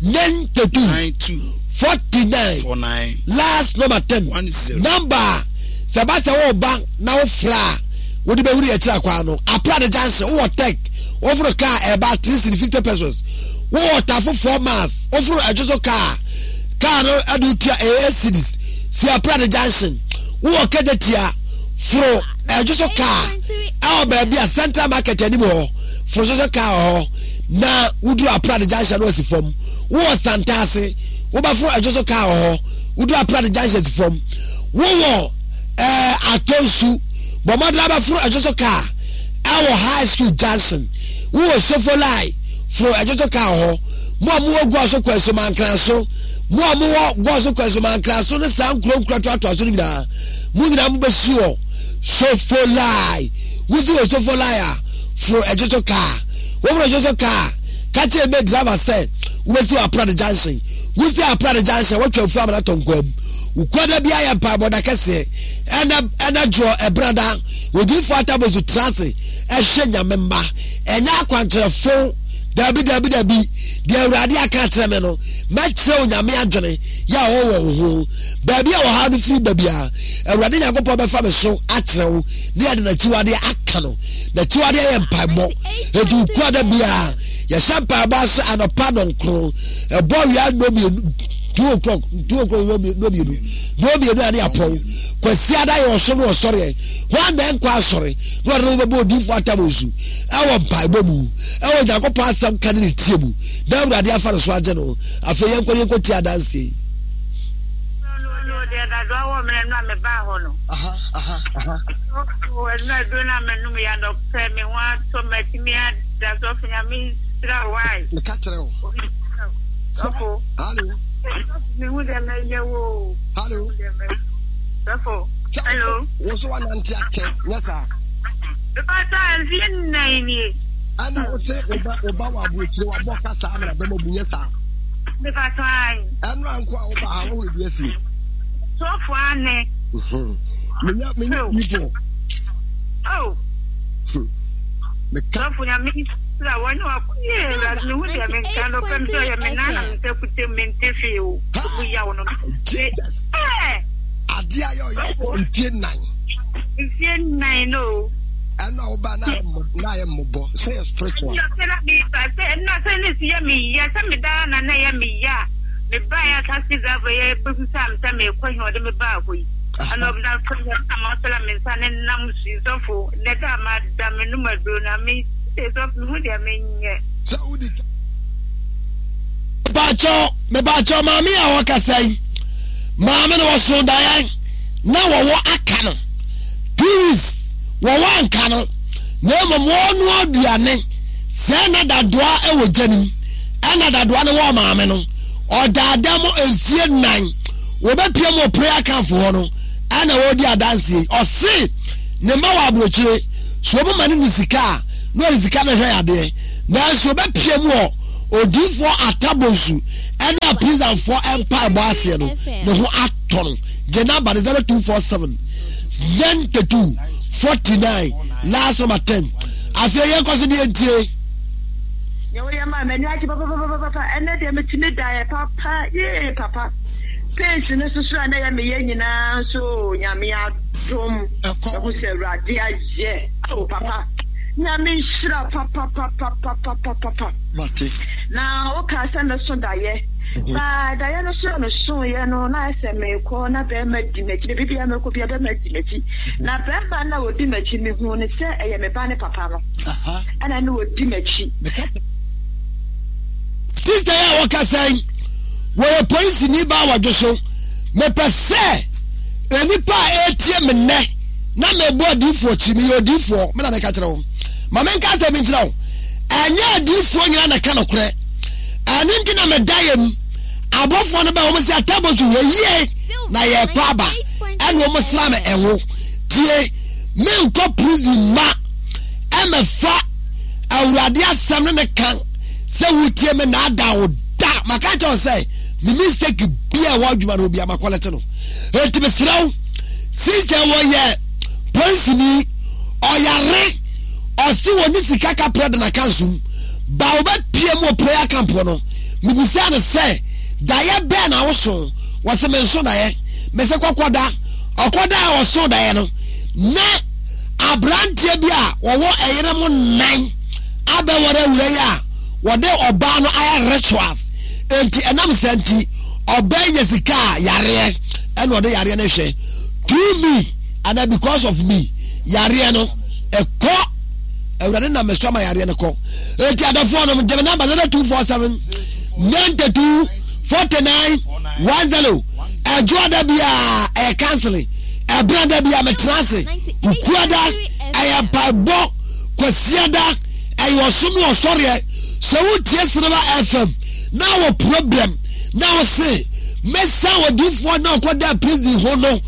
Speaker 1: 92.
Speaker 2: 92.
Speaker 1: 49.
Speaker 2: 49.
Speaker 1: Last number 10.
Speaker 2: 10.
Speaker 1: Number a sɛ ba sɛ wɔreba na wofrɛ a wode bɛhuru yɛ kyerɛ kwan no, Aprade junction, wowɔ Tech, woforo kaa ɛba 3 cedi 50 pesos, wowɔ Tafo 4 miles, woforo Ɛdwo so kaa, kaa no ɛde wotua 8 cedis, si Aprade junction, wowɔ Kejetia, foro Ɛdwo so kaa ɛwɔ baabi a Central Market anim hɔ, foro so kaa wɔ hɔ na woduru Aprade junction no asi fam, wowɔ Santase, wobɛforo Ɛdwo so kaa wɔ hɔ, woduru Aprade junction asi fam, wowɔ ɛɛ Atɔnsu, bɔ mmɔden abɛforo Ɛdwo so kaa ɛwɔ High School junction, wowɔ Sofolai, foro Ɛdwo so kaa wɔ hɔ, mo a mowɔ Guaso Kwaso Mankraso, mo a mowɔ Guaso Kwaso Mankraso ne saa nkuro nkuro atoatoa so no nyinaa, mo nyinaa mobɛsi wɔ Sofolai. Wosi wɔ Sofolai a, foro Ɛdwo so kaa. Woforo Ɛdwo so kaa a, ka kyerɛ me driver sɛ wobɛsi wɔ Aprade junction. Wosi Aprade junction a, woatwa afuo amena tɔ nkwam. Wukuada biara yɛ mpaebɔ da kɛseɛ. Ɛna ɛna dwoɔ ɛbrada. Odiyifoɔ Atabozu tena ase ɛhwɛ Nyame mma. Ɛnyɛ akwankyerɛfo. Dabi dabi dabi. Deɛ Awurade aka akyerɛ me no, mɛkyerɛ Onyame adwene yɛ a ɔwɔ wɔ wo ho. Baabi a ɔhaw no firi ba biara, Awurade Nyankopɔn bɛfa me so akyerɛ wo ne yɛde n'akyiwadeɛ aka no. N'akyiwadeɛ yɛ mpaebɔ. Enti Wukuada biara, yɛhyɛ mpaebɔ ase anɔpa nɔnkron, ɛbɔ awia nnɔmmienu, 2 o'clock, 2 o'clock nnɔmmienu, nnɔmmienu a ne yɛapɔn. Kwasiada yɛ ɔsom ne ɔsɔreɛ. Hwan na ɛnkɔ asɔre na ɔde ne ho bɛbɔ odiyifoɔ atam nsu ɛwɔ mpaebɔ mu, ɛwɔ Onyankopɔn asɛm ka ne ne tie mu, na Awurade afa ne so agye no? Afei yɛnkɔ ne yɛnkɔtie adanseɛ yi.
Speaker 5: No deɛ dadoa wɔ mmerɛ no a mebaa hɔ no. Ɛno aduro no a menom yɛ anɔpɛ me ho atɔ matumi ada. Sɔfo, Nyame nhyira wo ae.
Speaker 1: Meka kyerɛ wo.
Speaker 5: Sɔfo.
Speaker 1: Hello.
Speaker 5: Mehu deɛ mɛyɛ wo o.
Speaker 1: Hello.
Speaker 5: Sɔfo. Hello.
Speaker 1: Wo nso wanante akyɛ nyɛ saa.
Speaker 5: Mepatɔ mfie nnan nie.
Speaker 1: Ɛna wo se wo ba wo ba wɔ aburokyire wabɔ kasa amena bɛma bu nyɛ saa.
Speaker 5: Mepatɔ ae.
Speaker 1: Ɛno anko a woba ha wohunu bi asi.
Speaker 5: Sɔfo ane.
Speaker 1: Menya menya people.
Speaker 5: Oh.
Speaker 1: Meka.
Speaker 5: Sɔfo Nyame nhyira wo ne wako yɛ Awurade mehu deɛ menka no pɛ me sɛ ɔyɛ me nan na me nsa kuta mu mente hwee o. Mu yaw no.
Speaker 1: Jesus.
Speaker 5: Eh.
Speaker 1: Adeɛ a yɛ ɔyɛ mfie nnan.
Speaker 5: Mfie nnan no.
Speaker 1: Ɛno a woba na ayɛ mmɔbɔ sɛ yɛ spiritual.
Speaker 5: Ɛna sɛ na meba sɛ ɛna sɛ ne si yɛ me ya sɛ me daa na na ɛyɛ me ya a me ba yɛ taxi driver yɛ bɛbusa me sɛ mekɔ he ɔde me baa hɔ yi. Ɛna ɔbɛda sɛ yɛ na ma sɛ me nsa ne nam so yi sɔfo nɛ da ma da me num aduro na me sɛ sɔfo me hu deɛ menyɛ.
Speaker 1: Sɛ wodi Mepaakyɛw, mepaakyɛw, maame a ɔkasa yi, maame no wɔso daeɛ na wɔwɔ aka no 2 weeks, wɔwɔ anka no, na mmom wɔnoa aduane sɛ na dadoa wɔ gya nim, ɛna dadoa no wɔ maame no ɔdaada mu mfie 4. Wɔbɛpia mu wɔ prayer camp hɔ no ɛna wɔredi adanseɛ yi. Ɔse ne mma wɔ aburokyire, so wɔn ma no ne sika a na ɔde sika no hwɛ yadeɛ, nanso wɔbɛpia mu wɔ Odiyifoɔ Atta Bonsu ɛne aprisanfoɔ mpaebɔ aseɛ no, ne ho atɔ no. Gye namba no 0247 92 49 last number 10. Afei yɛnkɔ so ne yɛntie.
Speaker 6: Nea woyɛ maa m'ani agye papapapapa ɛnɛ deɛ metumi daeɛ papa yee papa pains no soso a na ɛyɛ meyɛ nyinaa nso Nyame adom ɛho sɛ Awurade ayɛ oh papa Nyame nhyira papapapapapapa
Speaker 2: Mate.
Speaker 6: Na wokaa sɛ mɛso daeɛ. Baa daeɛ no so a mesoeɛ no, na ayɛ sɛ merekɔ na barima di m'akyi. Baabi biara mɛkɔ biara barima di m'akyi. Na barima no a ɔdi m'akyi, mehuu no sɛ ɛyɛ me ba ne papa no. Ɛna na ɔdi m'akyi.
Speaker 1: Sista yi a wɔkasa yi, wɔyɛ polisini baa wɔdwo so. Mepɛ sɛ nnipa a ɛretie me nnɛ na mebɔ adiyifoɔ akyi, meyɛ odiyifoɔ, me na meka kyerɛ wo. Ma menka asɛm bi nkyerɛ wo. Ɛnyɛ adiyifoɔ nyinaa na ɛka nokorɛ. Ɛno nti na meda yam. Abɔfoɔ no bɛ wɔn sɛ atabo so hwɛ yie na yɛrekɔ aba. Ɛna wɔn sra me ɛho. Tie, menkɔ prison ma ɛmɛfa Awurade asɛm ne ne ka sɛ wotie me na ada wo da. Maka kyerɛ wo sɛ me mistake bia ɛwɔ adwuma no bia makɔlɛte no. Enti mesrɛ wo, sister wɔyɛ polisini, ɔyare. Ɔse wɔnni sika kaprɛ de naka nsom ba wɔbɛpie mu wɔ prayer camp hɔ no mebisaa no sɛ daeɛ bɛn na woso wɔse menso daeɛ mese kɔkɔda ɔkɔda a ɔso daeɛ no na aberanteɛ bi a wɔwɔ ɛyere mo nan abɛwɔre awura yi a wɔde ɔbaa no ayɛ rituals enti ɛnam saa nti ɔbaa nya sika a yareɛ ɛna ɔde yareɛ no hwɛ through me ana because of me yareɛ no ɛkɔ awurade nam me so ama yareɛ no kɔ eti adɔfoɔ nom gyeme namba 0247 92 49 10 ɛdwoa da biara ɛyɛ counseling ɛberɛ da biara metena ase kuada ɛyɛ mpaebɔ kwasiada ɛyɛ ɔsom ne ɔsɔreɛ sɛ wotie Silver FM na wɔ problem na wo se mɛsa odifoɔ na ɔkɔda prison ho no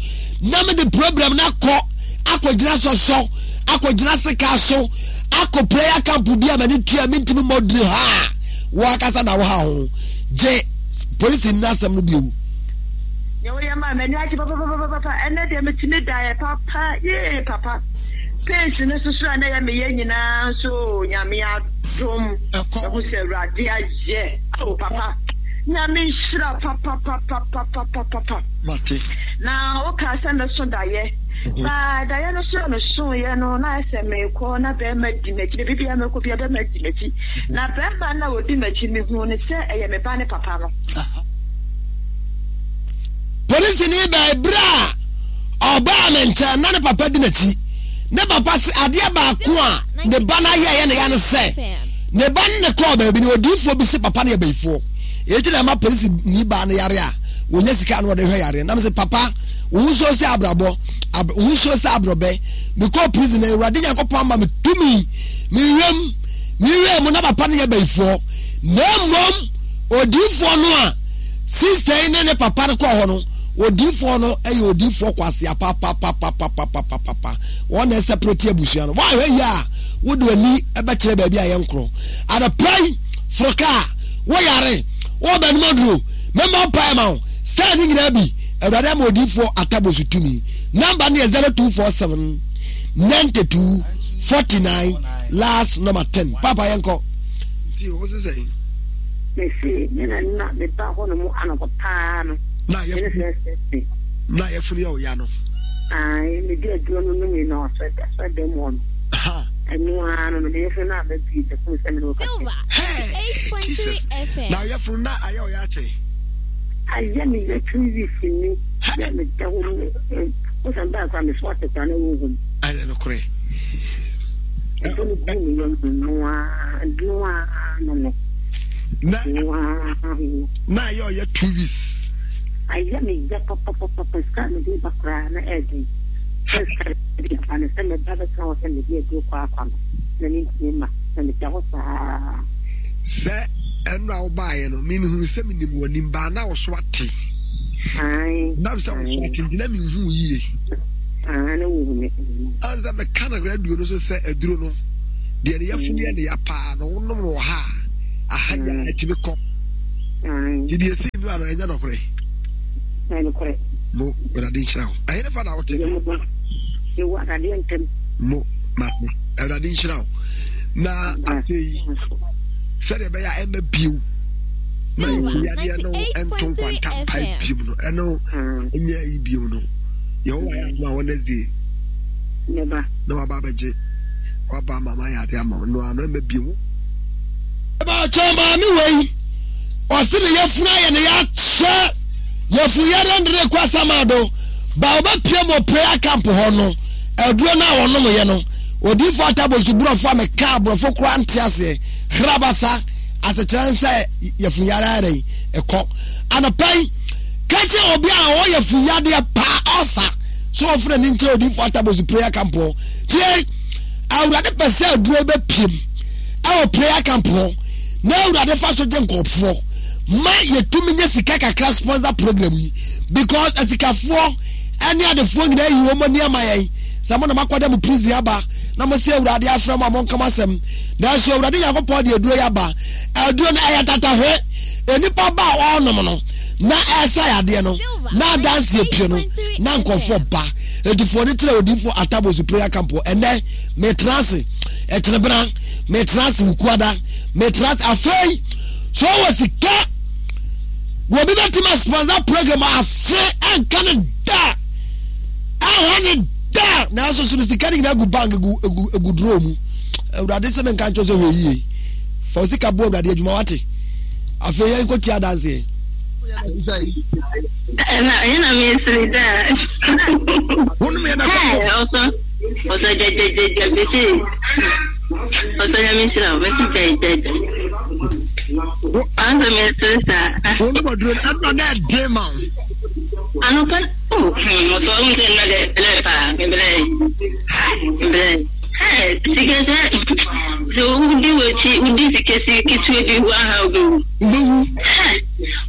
Speaker 1: na mede problem no akɔ akɔgyina sɔsɔ, akɔgyina sika so, akɔ prayer camp bi a m'ani tua mentumi mmɔ duru ha a, wo ankasa na woha ho. Gye polisi nni asɛm no bio.
Speaker 6: Nea woyɛ maa m'ani agye papapapapa ɛnɛ deɛ metumi daeɛ papa yee papa pains no soso a na ɛyɛ meyɛ nyinaa nso Nyame adom ɛho sɛ Awurade ayɛ oh papa Nyame nhyira papapapapapapa
Speaker 2: Mate.
Speaker 6: Na wokaa sɛ mɛso daeɛ. Baa daeɛ no so a mesoeɛ no, na ayɛ sɛ merekɔ na barima di m'akyi. Baabi biara mɛkɔ biara barima di m'akyi. Na barima no a ɔdi m'akyi, mehuu no sɛ ɛyɛ me ba ne papa no.
Speaker 1: Polisini baa berɛ a ɔbaa me nkyɛn na ne papa di n'akyi. Ne papa se adeɛ baako a ne ba no ayɛ ɛyɛ ne ya ne sɛ, ne ba no ne kɔɔ baabi no odiyifoɔ bi se papa no yɛ bayifoɔ. Enti na ɛma polisini baa no yare a wɔnya sika na wɔde hwɛ yareɛ. Na mese papa, wo ho nsuo sɛ abrabɔ, ab, wo ho nsuo sɛ abrɔbɛ. Mekɔɔ prison na Awurade Nyankopɔn ama me tumi. Mewam, mewura mu na papa no yɛ bayifoɔ. Na mmom odiyifoɔ no a sister yi ne ne papa no kɔɔ hɔ no, odiyifoɔ no yɛ odiyifoɔ kwasea papapapapapapapa. Wɔn na ɛsɛprɛte abusua no. Woahwɛ yie a, wode w'ani bɛkyerɛ baabi a yɛnkorɔ. Anɔpa yi, foro kaa, woyare, wobɛnom aduro, mɛmmɔ mpaeɛ ma wo. Saa ne nyinaa bi, Awurade ama odiyifoɔ Atabosu tumi. Number no yɛ 0247 92 49 last number 10. Papa yɛnkɔ.
Speaker 2: Nti wo se sɛn?
Speaker 6: Mese me na na meba hɔ nom anɔpa paa no.
Speaker 2: Na yɛfunu na yɛfunu yɛ ɔya no.
Speaker 6: Ae mede aduro no nomee na ɔsɔ asɔ dɛm hɔ no. Ɛno ara no no meyɛfunu no a mabie mefunu sɛ me ne wo kasa.
Speaker 2: Hey Jesus na yɛfunu na ayɛ ɔya akyɛ.
Speaker 6: Ayɛ me yɛ 2 weeks ni sɛ meda hɔ mu wosan baa koraa meso ate koraa na wonhu me.
Speaker 2: Ɛyɛ nokorɛ.
Speaker 6: Ɛfɔ no gu me yam noa noa no no.
Speaker 2: Na
Speaker 6: noa no.
Speaker 2: Na ayɛ ɔyɛ 2 weeks.
Speaker 6: Ayɛ me yɛ papapapa sika a mede ba koraa na ɛɛden. Sɛ sika de aba no sɛ meba bɛtena hɔ sɛ mede aduro kɔ akwa no na mentumi mma na meda hɔ saa.
Speaker 2: Sɛ ɛno a wobaeɛ no, me mehunu sɛ menim w'anim baa na wo so ate. Nam sɛ wo so ate nti na menhu wo yie. Ansa meka no radio no so sɛ aduro no, deɛ ne yafunu yɛ ne ya paa no, wonom no wɔ ha a,
Speaker 1: Aha yɛ a ɛtumi kɔ. Nti deɛ ɛsii no ano ɛnyɛ nɔkorɛ.
Speaker 7: Ɛyɛ nokorɛ.
Speaker 1: Mo Awurade nhyira wo. Ɛyɛ ne fa na wote.
Speaker 7: Yɛwɔ adeɛ ntɛm.
Speaker 1: Mo maame Awurade nhyira wo. Na afei sɛdeɛ ɛbɛyɛ a ɛmɛ bio na yadeɛ no ɛnto nkwanta mpae bio no ɛno ɛnyɛ ayi bio no yɛwɔ ayɛ adoma Wednesday na waba abɛgye waba ama ma yɛ adeɛ ama wo no ano ɛmɛ bio. Ɛbɛkyɛ maame wei ɔse ne yafunu ayɛ ne yakyɛ yafunu yɛrɛ ndere kɔ asamado ba ɔbɛpie mu prayer camp hɔ no aduro no a ɔnom yɛ no odifo atabosu borɔfo a meka aborɔfo koraa nte aseɛ hrabasa asekyerɛ ne sɛ yafunu yɛrɛ ayɛ ɛkɔ anɔpa yi ka kyerɛ obi a ɔwɔ yafunu yadeɛ paa ɔsa so ɔfrɛ ne nkyerɛ odifo atabosu prayer camp hɔ tie awurade pɛ sɛ aduro bɛpiem ɛwɔ prayer camp hɔ na awurade fa so gye nkurɔfoɔ ma yɛtumi nyɛ sika kakra sponsor program yi because asikafoɔ ɛne adefoɔ nyinaa yi wɔn ani ama yɛn sɛ mo na makɔda mo prison aba na mo sɛ awurade afrɛ mo a monka mo asɛm nanso awurade nyankopɔn de aduro yi aba aduro no ɛyɛ tatahwe nnipa ba a ɔrenom no na ɛsa yadeɛ no na adanseɛ pie no na nkurɔfoɔ ba ɛtifoɔ no kyerɛ odiifoɔ atabosu prayer camp ɛnɛ metra ase ɛkyenebena metra ase wukuada metra ase afei sɛ ɔwɔ sika wɔbi bɛtumi asponsor program afe ɛnka ne da ɛha ne da nanso so no sika no nyinaa gu bank gu gu gu duro mu awurade sɛ menka nkyɛw sɛ hwɛ yie fa sika boa awurade adwuma wate afei yɛn kɔ tia adanseɛ.
Speaker 5: Ɛna ɛna mesere daa.
Speaker 1: Wonom yɛ na kɔkɔ.
Speaker 5: Ɔsɔ ɔsɔ gyɛgyɛgyɛgyɛ mese ɔsɔ nyame nhyira wo mese gyɛgyɛgyɛ. Ansa mesere saa.
Speaker 1: Wonom aduro no ɛna na ɛden ma wo.
Speaker 5: Anɔpa oh hmm ɔsɔ ɔhu sɛ nna dɛ blɛ paa meblɛ blɛ. Sika sɛ sɛ wodi w'akyi wodi sika si ketewa bi wo aha wobɛwu.
Speaker 1: Wobɛwu.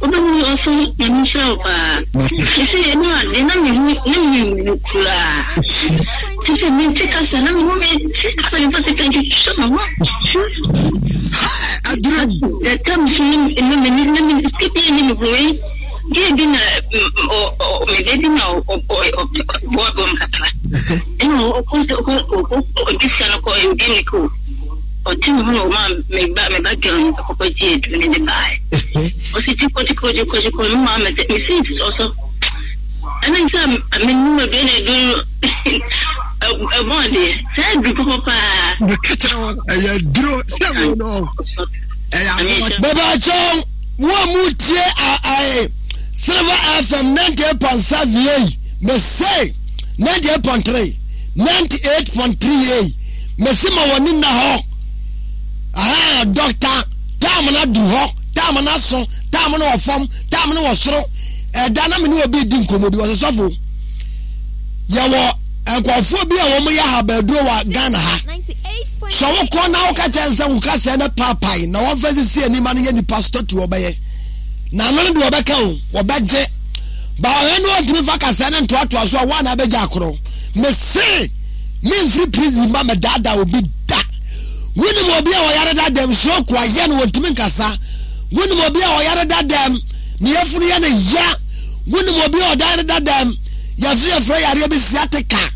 Speaker 5: Wobɛwu ɔso nyame nhyira wo paa. Sisi ɛno ade na mehu na mewu koraa. Sisi mente kasa na mehu mente kasa mefa sika ntwitwa me ho.
Speaker 1: Aduru.
Speaker 5: Data me so na me na me sika bi ne me ho yi. Gye bi na me ba bi na ɔboa bɔm kakra. Ɛna ɔkɔ ɔkɔ ɔde sika no kɔ ɔdi ne ko. Ɔte me ho na ɔma me ba me ba girl no kɔkɔ gye aduro ne de baeɛ. Ɔsi gyekɔ gyekɔ gyekɔ gyekɔ me maa me sɛ me si ɔsɔ. Ɛna sɛ me num aduro na aduro no ɛbɔ adeɛ saa aduro papa paa.
Speaker 1: Meka kyerɛ wɔn ɛyɛ aduro sɛ wo no ɛyɛ aboa. Bɛbɛ akyɛw mo a mo tie ae Silver FM 98.7 yei mese 98.3 98.3 yei. Mese ma w'ani nna hɔ. Ahaa, dɔkta, taam no adu hɔ, taam no aso, taam no wɔ fam, taam no wɔ soro. Ɛda na me ne obi di nkɔmmɔ bi, ɔsɛ sɔfo, yɛwɔ nkurɔfoɔ bi a wɔn yɛ ahabaduro wɔ Ghana ha. Sɛ wokɔ na woka kyɛn sɛ wo kasɛɛ no paapae na wɔmfa sisi anim ma no nyɛ nipa statue wɔbɛyɛ. Na ano no deɛ wɔbɛka o, wɔbɛgye. Ba ɔhwɛ no ɔntumi fa kasɛɛ no ntoatoa so a wɔn a na abɛgya akorɔ. Mese! Memfiri prison mma mɛdaadaa obi da. Wonim obi a ɔyare da dɛm, stroke ayɛ no wɔntumi nkasa. Wonim obi a ɔyare da dɛm, ne yafunu yɛ no ya. Wonim obi a ɔdayare da dɛm, yɛso yɛfrɛ yareɛ bi sciatica.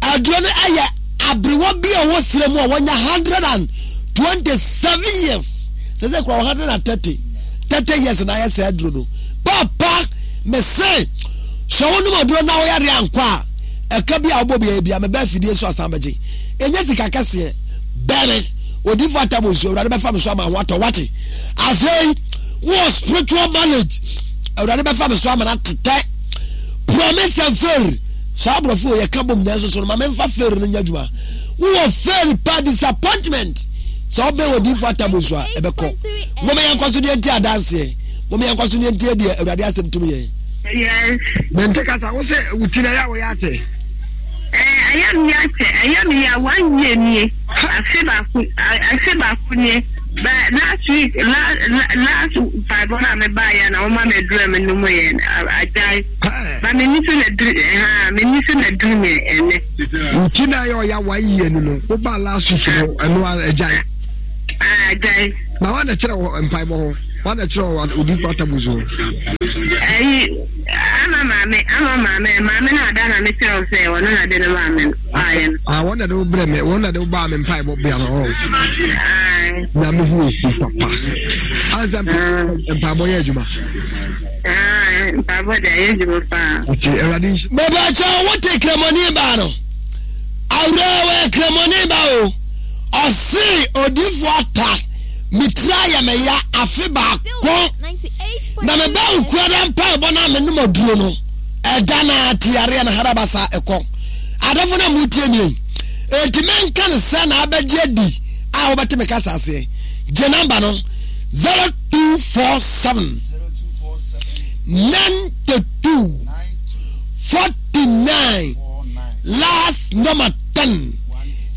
Speaker 1: Aduro no ɛyɛ aberewa bi a ɔwɔ serɛ mu a wɔnya 127 years. Sɛ sɛ kura 130, 30 years na ayɛ sɛ aduro no. Papa, mese, sɛ wonom aduro na woyare ankɔ a, Ɛka bi a wobɔ biara bia meba afidie so asan bɛgye. Ɛnyɛ sika kɛseɛ. Bɛn odifo atam nsuo Awurade bɛfa me so ama ho atɔ wate. Afei wowɔ spiritual marriage Awurade bɛfa me so ama no atetɛ. Promise and fail. Saa aborɔfo yɛ ka bom nanso so no ma memfa fail no nyɛ adwuma. Wowɔ fail pa disappointment. Sɛ wobɛn odifo atam nsuo a ɛbɛkɔ. Moma yɛnkɔ so deɛ nti adanseɛ. Moma yɛnkɔ so deɛ nti deɛ Awurade asɛm tumi yɛn.
Speaker 5: Yes.
Speaker 1: Mente kasa wo sɛ wo ti na ɛyɛ a wɔyɛ akyɛ.
Speaker 5: Ɛɛ ɛyɛ mi akyɛ ɛyɛ mi ya one year nie afe baako afe baako nie ba last week last last mpaebɔ na me ba yɛ na wɔn ma mi duro mi nom yɛ agyae ba mi ni so na duru ha mi ni so na duru mi ɛnɛ.
Speaker 1: Wo ti na ɛyɛ ɔya one year ni no wo ba last week no ɛno agyae.
Speaker 5: Agyae.
Speaker 1: Na wọn na kyerɛ wɔ mpaebɔ hɔ? Wọn na kyerɛ wɔ odiyifo Atabus hɔ?
Speaker 5: Ɛyi, ama maame, ama maame, maame na ada na me kyerɛ wo sɛ ɔno na de no maa me no, baayɛ no.
Speaker 1: Ah, wɔn na de wo brɛ me, wɔn na de wo baa me mpaebɔ bea no hɔ. Na me hu esi papa. Ansa mpaebɔ yɛ adwuma.
Speaker 5: Mpaebɔ de ayɛ adwuma paa.
Speaker 1: Ɔte Awurade nhyira.
Speaker 8: Mebakyɛ wote kramoni baa no? Awuraa wɔyɛ kramoni ba o. Ɔse odifo ata me tiri ayɛ me ya afe baako na me ba okuada mpaebɔ na me nom aduro no ɛda na te yareɛ no harabasa ɛkɔ. Adɔfo na motie nie enti menka no sɛ na abɛgye adi a wobɛte me kasa aseɛ. Gye namba no 0247 92 49 last number 10.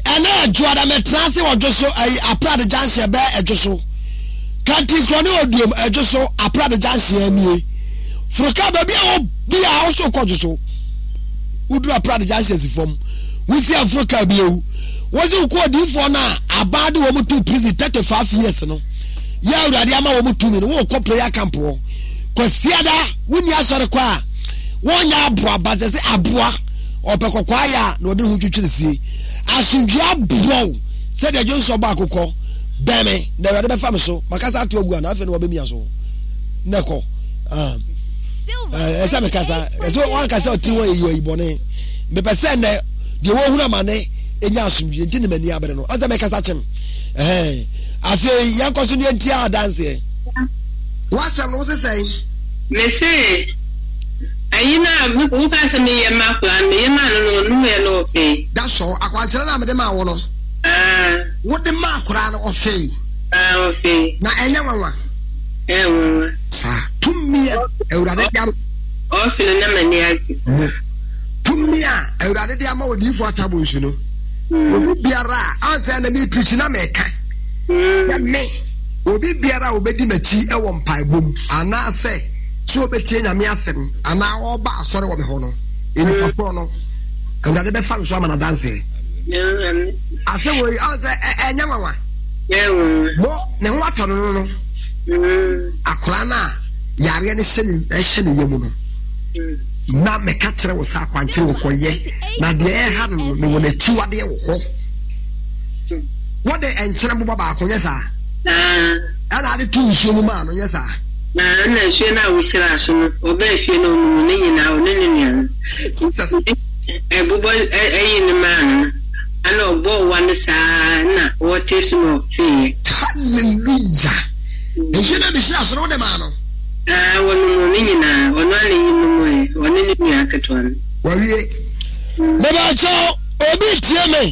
Speaker 8: Ɛnɛ Ɛdwoada mɛtena ase wɔ dwo so ayi Aprade junction ɛbɛɛ Ɛdwo so Kantinkorɔ ne Oduom Ɛdwo so Aprade junction anie Foro kaa baabi a wɔ biara wo so kɔ dwo so Woduru Aprade junction si fam Wosi aforo kaa bi ewu Wosi wokɔ odiifoɔ no a abaa de wɔn to prison 35 years no Yɛ awurade ama wɔn tumi no wokɔ prayer camp hɔ Kwasiada wonni asɔre kɔ a wɔnyɛ aboa ba sɛ sɛ aboa Ɔpɛ kɔkɔɔ ayɛ a na ɔde ne ho twitwiri sie. Asomdwoeɛ aboa wo sɛdeɛ dwonsɔ bɔ akokɔ. Bɛn me, na Awurade bɛfa me so. Makasa ato agu a, na afei na wabɛmia so. Na ɛkɔ. Ah. Eh, ɛsɛ mekasa. Ɛsɛ wankasa ɔtiri hɔ yɛ yi bɔne. Mepɛ sɛ nnɛ deɛ wɔhunu amane ɛnya asomdwoeɛ nti ne m'ani abere no. Ɔsɛ mekasa kyem. Ɛhɛn. Afei yɛnkɔ so ne yɛntia adanseɛ.
Speaker 1: W'asɛm no wo se sɛn?
Speaker 5: Mese Ayi no a wokaa sɛ menyɛ mma akwadaa no, meyɛ maa no no, ɔnomeeɛ na ɔfee.
Speaker 1: That's all. Akwankyerɛ no a mede maa wo no.
Speaker 5: Ah.
Speaker 1: Wode maa akwadaa no, ɔfee.
Speaker 5: Ah, ɔfee.
Speaker 1: Na ɛnyɛ nwanwa.
Speaker 5: Ɛyɛ nwanwa.
Speaker 1: Saa. Tumi a Awurade de ama.
Speaker 5: Ɔfe no na m'ani agye.
Speaker 1: Tumi a Awurade de ama odiyifoɔ Atabonsu no. Obi biara a, ansa na mi pirikyi na meka. Sɛ me, obi biara a obedi m'akyi wɔ mpaebɔ mu anaasɛ. sɛ ɔbɛtie Nyame asɛm anaa ɔreba asɔre wɔ me hɔ no, nnipa korɔ no, Awurade bɛfa me so ama no adanseɛ. Asɛm wei, ɔn sɛ ɛnyɛ nwanwa. Mo, ne ho atɔ no no no, akwaraa no a yareɛ no hyɛ ne ɛhyɛ ne yam no, na mɛka kyerɛ wo sɛ akwankyerɛ wɔ kɔyɛ, na deɛ ɛha no no, mewɔ n'akyiwadeɛ wɔ hɔ. Wɔde nkyene boba baako, nyɛ saa? Ɛna ade to nsuo mu maa no, nyɛ saa?
Speaker 5: Na nna nsuo no a wohyiraa so no, wɔbaa fie na wɔnum ne nyinaa, ɔne ne nua no. Nti ɛbobɔ ayi no maa no no, ana ɔbɔɔ wa no saa na wɔtee so na ɔfeeɛ.
Speaker 1: Hallelujah! Nsuo no a mehyiraa so no, wode maa no?
Speaker 5: Aa, wɔnom ne nyinaa, ɔno ara na eyi nomoeɛ, ɔne ne nua ketewa no.
Speaker 1: Wawie.
Speaker 8: Mebakyɛw, obi tie me,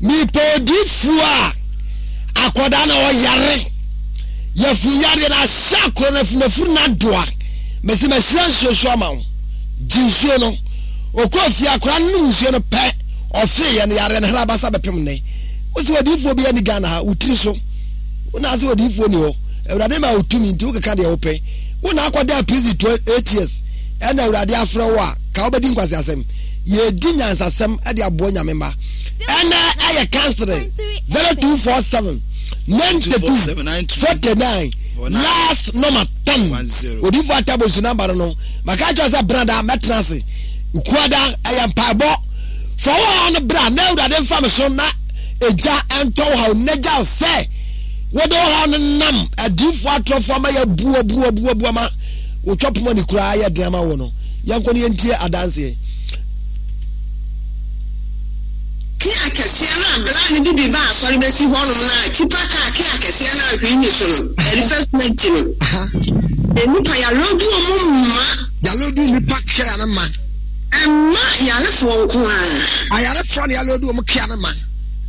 Speaker 8: mepɛ odiifoɔ a akwadaa na ɔyare. Yafunu yareɛ no ahyɛ akoro no afunafunu no adoa. Mese mahyira nsuo so ama wo. Gye nsuo no. Ɔkɔɔ fie akora no nom nsuo no pɛ ɔfeeɛ no yareɛ no hra basa bɛpem nnɛ. Wo se odiyifoɔ biara ni Ghana ha, wo tiri so. Wo na ase odiyifoɔ ni hɔ. Awurade ma wo tumi nti wokeka deɛ wopɛ. Wo na akɔda prison 8 years ɛna Awurade afrɛ wo a ka wobɛdi nkwaseasɛm. Yɛdi nyansasɛm de aboa Nyame mma. Ɛnɛ ɛyɛ counseling 0247 92 49 last number 10 odifo atabosu number no no maka kyerɛ sɛ brada mɛtena ase kuada ɛyɛ mpaebɔ fa wo haw no bra na awurade mfa me so na egya ɛntɔ wo haw na gya sɛ wode wo haw no nam adiifo atorɔfo ama yɛabu abu abu abu ama wotwa poma ne koraa yɛ den ama wo no yɛnkɔ no yɛntie adanseɛ.
Speaker 9: Ke akɛseɛ no a bere a ne de bi ba asɔre bɛsi hɔnom no a tipa kaa ke akɛseɛ no a hwee nni so no, ɛde fa su akyi no, nnipa yaloodu wɔn mma.
Speaker 1: Yaloodu nnipa kea no ma.
Speaker 9: Ɛmma yarefoɔ nko ara.
Speaker 1: Ayarefoɔ na yaloodu wɔn kea no ma.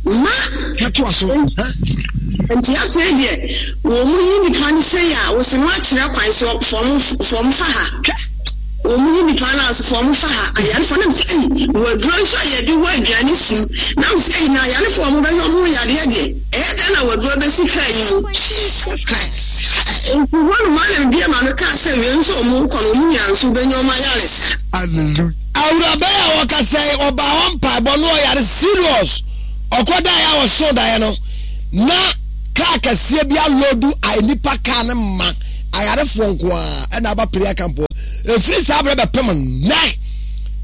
Speaker 9: Ma.
Speaker 1: Katoa so.
Speaker 9: Nti afei deɛ wɔn yi nnipa no sei a, wɔsi no akyerɛ kwan sɛ fɔm fɔm fa ha.
Speaker 1: Hwɛ.
Speaker 9: Wɔn yi nipa no ase fɔm fa ha ayarefoɔ na mesɛ ei wɔ aduro nso a yɛde wɔ aduane sim na mesɛ ei na ayarefoɔ a wɔbɛhwɛ wɔn ho yadeɛ deɛ ɛyɛ dɛn na wɔ aduro bɛsi kaa yi mu.
Speaker 1: Jesus Christ.
Speaker 9: Nti hɔ nom ara na mebue m'ano kaa sɛ wei nso a wɔn rekɔ no wɔn nyinaa nso bɛnya wɔn ayaresa.
Speaker 1: Hallelujah.
Speaker 8: Awuraba yi a ɔkasa yi ɔbaa hɔ mpaebɔ no ɔyare serious ɔkɔ daeɛ a ɔsoo daeɛ no na kaa.
Speaker 1: Kaa kɛseɛ bi aloodu nnipa kaa no ma ayarefoɔ nko ara ɛna aba prayer camp hɔ. Ɛfiri saa berɛ bɛpem nnɛ,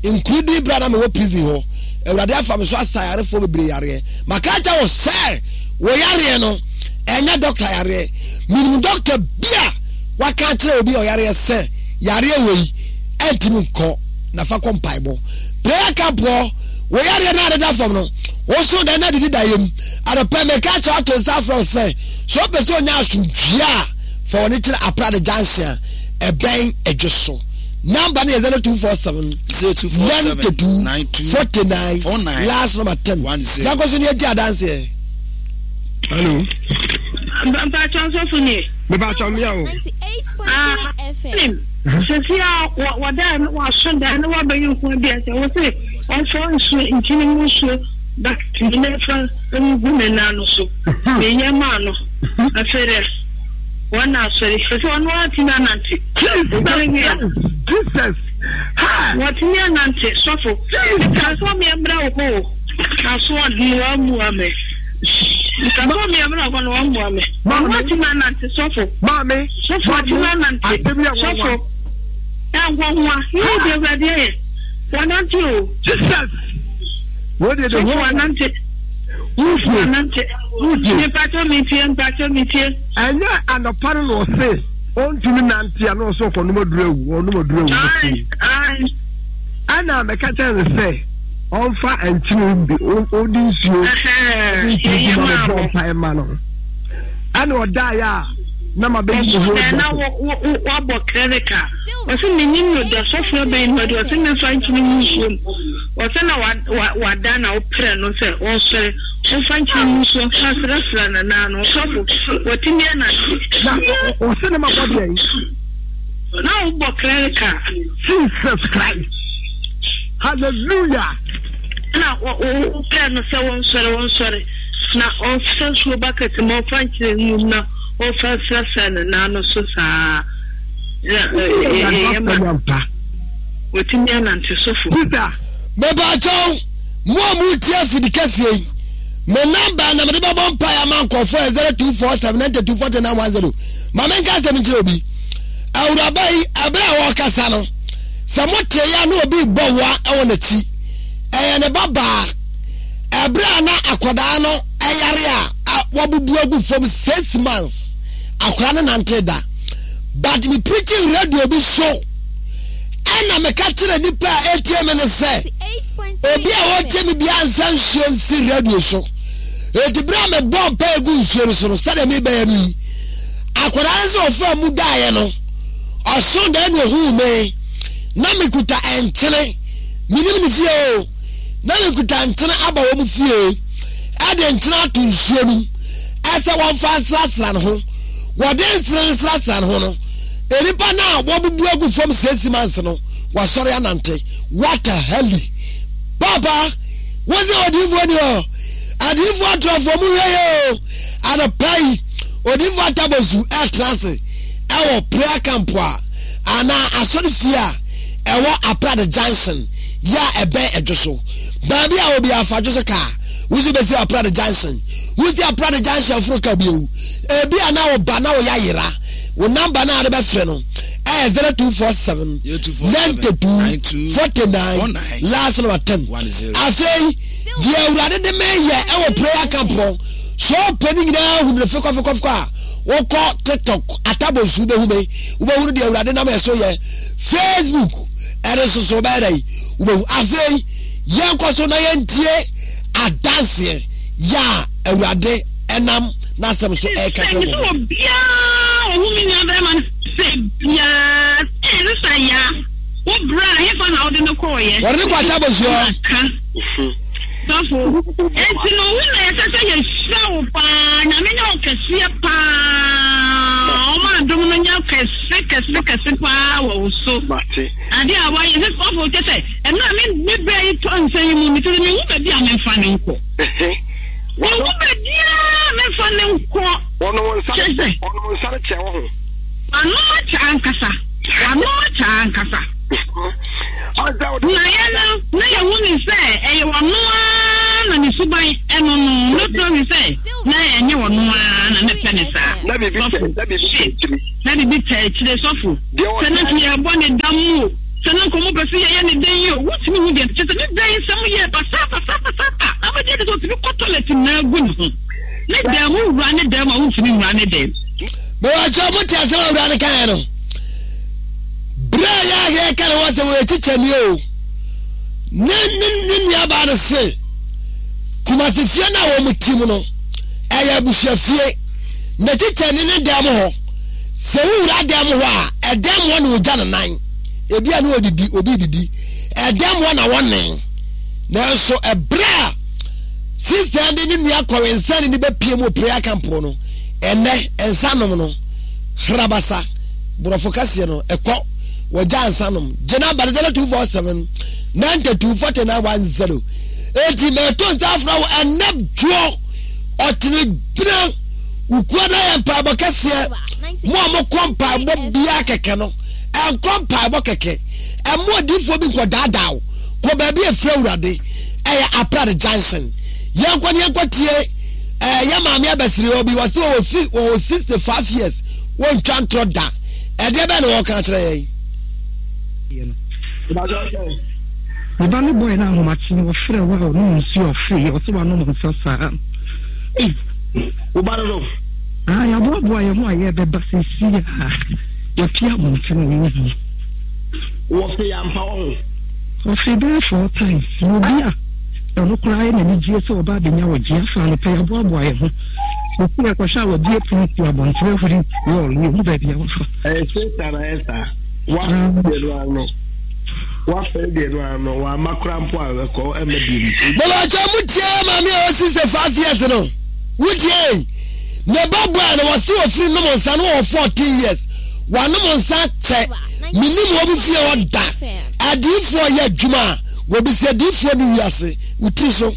Speaker 1: nkurudi berɛ a na mewɔ prison hɔ, Awurade afa me so asa ayarefoɔ bebree yareɛ. Maka akyerɛ wo sɛ, wo yareɛ no, ɛnyɛ dɔkta yareɛ. Menim dɔkta bi a waka akyerɛ obi a ɔyareɛ sɛ, yareɛ wei ɛntumi nkɔ, na fa kɔ mpaebɔ. Prayer camp hɔ, wo yareɛ no a ɛdeda fam no, wo so dɛn na didi da yam. Anɔpa yi, meka akyerɛ wo ato nsa afrɛ wo sɛ, sɛ wopɛ sɛ onya asomdwoeɛ a, fa w'ani kyerɛ Aprade Junction a ɛbɛn Adwo so. Number no yɛ 0247 92 49 last number 10. Yɛnkɔ so ne yɛdi adanseɛ.
Speaker 10: Hello.
Speaker 11: Mpatsɔ nsɔfo ni.
Speaker 10: Mepatsɔ mmea o.
Speaker 11: Ah, sisi a wɔda no waso da no wabɛyɛ nko bi ɛsɛ wɔ se ɔmfa nsuo nkyene mu nsuo bakɛt no mfa ngu ne nan no so. Meyɛ maa no. Afei dɛ wɔn na asɔre fɛ sɛ ɔno atumi anante.
Speaker 10: Jesus.
Speaker 11: Wɔtumi anante sɔfo. Mekaa sɛ ɔmeɛ mmra wo hɔ o. Asoɔden wammua me. Nka sɛ ɔmeɛ mmra hɔ no wammua me. Ɔno atumi anante sɔfo.
Speaker 10: Maame.
Speaker 11: Sɔfo atumi anante. Sɔfo. Ɛnhɔhoa. Yíyí deɛ Awurade ayɛ. Wanante o.
Speaker 10: Jesus. Wọ́n de de
Speaker 11: ho. Wanante.
Speaker 10: Wúfie.
Speaker 11: Wanante.
Speaker 10: Wúfie.
Speaker 11: Mpatsɔ mi tie mpatsɔ mi tie.
Speaker 10: Ɛnyɛ anɔpa no na ɔse ɔntumi nante a na ɔsɛ ɔkɔnom aduru awu ɔnom aduru awu.
Speaker 11: Ayi ayi.
Speaker 10: Ɛna mɛka kyerɛ no sɛ ɔmfa nkyene bi ɔde nsuo ɔde nsuo gu ma no bɔ mpae ma no. Ɛna ɔdaeɛ a na ma bɛyi ne ho
Speaker 11: adi na wabɔ clerical ɔsɛ menim no da sɔfo abɛyi no adi ɔsɛ memfa nkyene mu nsuo mu ɔsɛ na wada na woprɛ no sɛ ɔnsɔre ɔmfa nkyene mu nsuo mfa srɛsrɛ no naa no ɔsɔfo wɔtumi anante
Speaker 10: na ɔsɛ ne ma bɔ deɛ
Speaker 11: na wobɔ clerical.
Speaker 10: Jesus Christ hallelujah.
Speaker 11: Na wopɛ no sɛ wɔnsɔre wɔnsɔre na ɔmfa nsuo bucket ma ɔmfa nkyene ngu mu na ɔmfa nsrasra ne nan no so saa na ɛyɛ ma watumi anante sɔfo.
Speaker 10: Peter.
Speaker 1: Mepaakyɛw, mo a moretie afidi kɛseɛ yi, me namba na mede bɛbɔ mpaeɛ ama nkurɔfoɔ yɛ 0247 92 49 10. Ma menka asɛm nkyerɛ obi. Awuraba yi, ɛberɛ a wɔrekasa no, sɛ motee ya na obi rebɔ wa wɔ n'akyi, ɛyɛ ne ba baa. Ɛberɛ a na akwadaa no ɛyare a wabubu agu fam 6 months, akwadaa no nante da. But me preaching radio bi so, ɛna meka kyerɛ nipa a ɛtie me no sɛ, obi a ɔtie me biara nsa nsuo nsi radio so. Enti berɛ a mebɔ mpa egu nsuo no so no, sɛdeɛ mebɛyɛ no yi, Akwadaa no sɛ ɔfaa mu daeɛ no, ɔsoo daeɛ na ɔhuu me. Na mekuta nkyene, menim ne fie o, na mekuta nkyene aba wɔn fie, ɛde nkyene ato nsuo no mu, ɛsɛ wɔmfa nsrasra ne ho. Wɔde nsene no srasra ne ho no, nnipa no a wɔbubu agu fam siesie manse no, wɔasɔre anante. What a hell! Papa, wo sɛ odiyifoɔ ni hɔ, adiyifoɔ atorɔfoɔ mu hwɛ yɛ o. Anɔpa yi, Odiyifo Atabozu retra ase wɔ prayer camp a anaa asɔrefie a ɛwɔ Aprade Junction yi a ɛbɛn Ɛdwo so. Baabi a obi afa dwo so kaa, wosi besi Aprade Junction. Wosi Aprade Junction foro ka bio. Ebi a na wo ba na wo yayera. Wo namba na ade bɛfrɛ no ɛyɛ 0247 92 49 last number 10. Afei, deɛ Awurade de meyɛ ɛwɔ prayer camp hɔ. So wopɛ ne nyinaa hu no fekɔfekɔfekɔ a, wokɔ TikTok, Atabonsu wobɛhu me, wobɛhunu deɛ Awurade nam ɛso yɛ. Facebook ɛno nso so wobɛyɛ dɛn? Wobɛhu. Afei yɛnkɔ so na yɛntie adanseɛ yɛ a Awurade ɛnam n'asɛm so ɛreka kyerɛ
Speaker 11: wɔn. Obiara ɔhu me nua bɛrima no sɛ biara sɛ ne sa ya wo bra hefa na wode no kɔɔyɛ.
Speaker 1: Wɔde no kɔ Atabonsu hɔ.
Speaker 11: Sɔfo, enti no wo na ɛsɛ sɛ yɛhyira wo paa, Nyame nyɛ wo kɛseɛ paa, ɔma adom no nyɛ kɛse kɛse kɛse paa wɔ wo so. Adeɛ a wayɛ sɛ sɔfo kyɛ sɛ ɛmmerɛ a me me berɛ yi tɔ nsa yi mu me sɛ mehu baabi a memfa no nkɔ. Mehu baabi a memfa no nkɔ. Kyɛ sɛ.
Speaker 10: Ɔnom nsa no kyɛ wɔ ho.
Speaker 11: Wanom akyɛ ankasa. Wanom akyɛ ankasa. Na yɛn no, na yɛhu no sɛ ɛyɛ ɔno ara. Saa na ne suban ɛno no, not knowing sɛ na ɛnyɛ ɔno ara na na ɛpɛ ne saa.
Speaker 10: Na biribi
Speaker 11: Sɔfo,
Speaker 10: na biribi tɛ
Speaker 11: shit.
Speaker 10: akyiri.
Speaker 11: Na biribi tɛ akyire, sɔfo.
Speaker 10: Deɛ
Speaker 11: Sɛ na nka
Speaker 10: ɔtaa.
Speaker 11: yɛrebɔ ne dam o, sɛ na nka wɔpɛ sɛ yɛyɛ ne dɛn yi o, wontumi hu deɛ kyerɛ sɛ ne dan nsɛm yɛɛ basaa basaa basaa a, na wobɛgye adi sɛ ɔtumi kɔ toilet nyinaa gu ne ho. Ne dan mu, wowura ne dan mu a, wontumi nwura ne dan mu.
Speaker 1: Mewakyɛ mo te asɛm a awura no kaeɛ no. Berɛ a yɛ a yɛka ne ho asɛm ɔyɛ kyikyɛni o. Ne ne ne nuabaa no se Kumasi fie no a wɔn ti mu no ɛyɛ abusua fie. Na kyikyɛni ne dan mu hɔ. Sɛ wowura dan mu hɔ a ɛdan mu hɔ na ogya ne nan. Ebi a ne odidi obi didi. Ɛdan mu hɔ na wɔne. Nanso ɛberɛ a sista de ne nua kɔwensani ne bɛpie mu wɔ prayer camp no ɛnɛ nsa nom no hrabasa borɔfo kɛseɛ no ɛkɔ wɔgya nsa nom gye namba no 0247 92 49 10 enti mɛto nsa afra wo ɛnɛ dwoɔ ɔkyene bena wokua no yɛ mpaebɔ kɛseɛ mo a mokɔ mpaebɔ biara kɛkɛ no ɛnkɔ mpaebɔ kɛkɛ ɛmo adiifoɔ bi nkɔ daadaa wo kɔ baabi efiri awurade ɛyɛ aprade junction yɛnkɔ ne yɛnkɔ tie ɛɛ yɛ maame abɛsiri obi wɔsi wɔwɔ fi wɔwɔ 65 years wɔntwa ntorɔ da ɛdeɛ bɛn na wɔka akyerɛ yɛn.
Speaker 12: Me ba no bɔe no ahomakye no wɔfrɛ wo a ɔnom nsuo a ɔfeeɛ ɔsɛ wanom nsa saa ei.
Speaker 10: Wo ba no no.
Speaker 12: Ah yɛaboaboa yɛn ho a yɛbɛba seesei a yɛpie abɔnten a yɛnhu.
Speaker 10: Wɔfee ampa wɔ ho.
Speaker 12: Ɔfee bɛyɛ 4 times na obi a ɔno koraa yɛ n'anigyeɛ sɛ ɔba abɛnya ɔgye afa anɔpa yɛaboaboa yɛn ho seesei yɛkɔhwɛ a wabue pono si abɔnten ahuri wall yɛhu baabi a wafa.
Speaker 10: Ɛyɛ Satan ayɛ saa. Wafɛre deɛ no ano. Wafɛre deɛ no ano. Wamma koraa mpo a ɛkɔ ɛmma bio mu.
Speaker 1: Bɛbɛkyɛ mo tie maame a ɔsi sɛ 5 years no wotie ne ba bɔɛ no wɔse ofiri nom nsa no wɔ 14 years wanom nsa kyɛ menim wɔ mo fie hɔ da adiifoɔ yɛ adwuma a wɔbisa adiifoɔ no wiase wo tiri so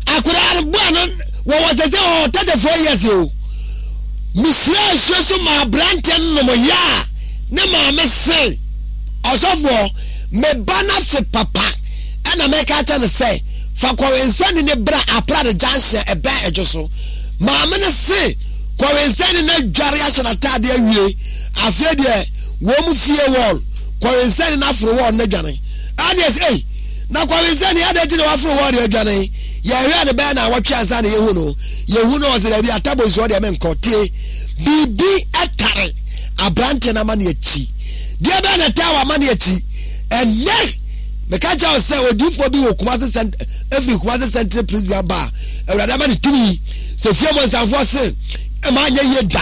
Speaker 1: akwadaa no bɔɛ no wɔwɔ sɛ sɛ wɔwɔ 34 years o mehyira nsuo so ma aberanteɛ no nom yɛ a ne maame se ɔsɔfoɔ meba no afe papa ɛna mɛka kyɛ no sɛ fa kɔwensani ne bra aprade junction ɛbɛn ɛdwo so maame no se kɔwensani no adware ahyɛ n'ataade awie afei deɛ wɔn mu fie wɔl kɔwensani no aforo wɔl no adwane ɛne ɛsɛ ei na kɔwensani adɛn ti na waforo wɔl deɛ adwane yɛhwɛ ne bɛyɛ na awɔtwe ansa na yɛhu no yɛhu no ɔsɛ daabi atabo nsuo deɛ menkɔ tie biribi ɛtare aberanteɛ no ama ne akyi deɛ bɛyɛ na ɛtaa wɔ ama ne akyi ɛnɛ meka kyerɛ wo sɛ odiyifoɔ bi wɔ Kumasi cent efiri Kumasi central prison aba a awurade ama ne tumi sɛ fie mɔnsanfoɔ se ɛma anyɛ yie da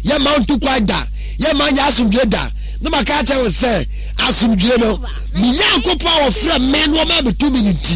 Speaker 1: yɛ ma ntu kwan da yɛ ma nyɛ asomdwie da na maka kyerɛ wo sɛ asomdwie no me Nyankopɔn a wɔfrɛ me no ɔma me tumi no nti.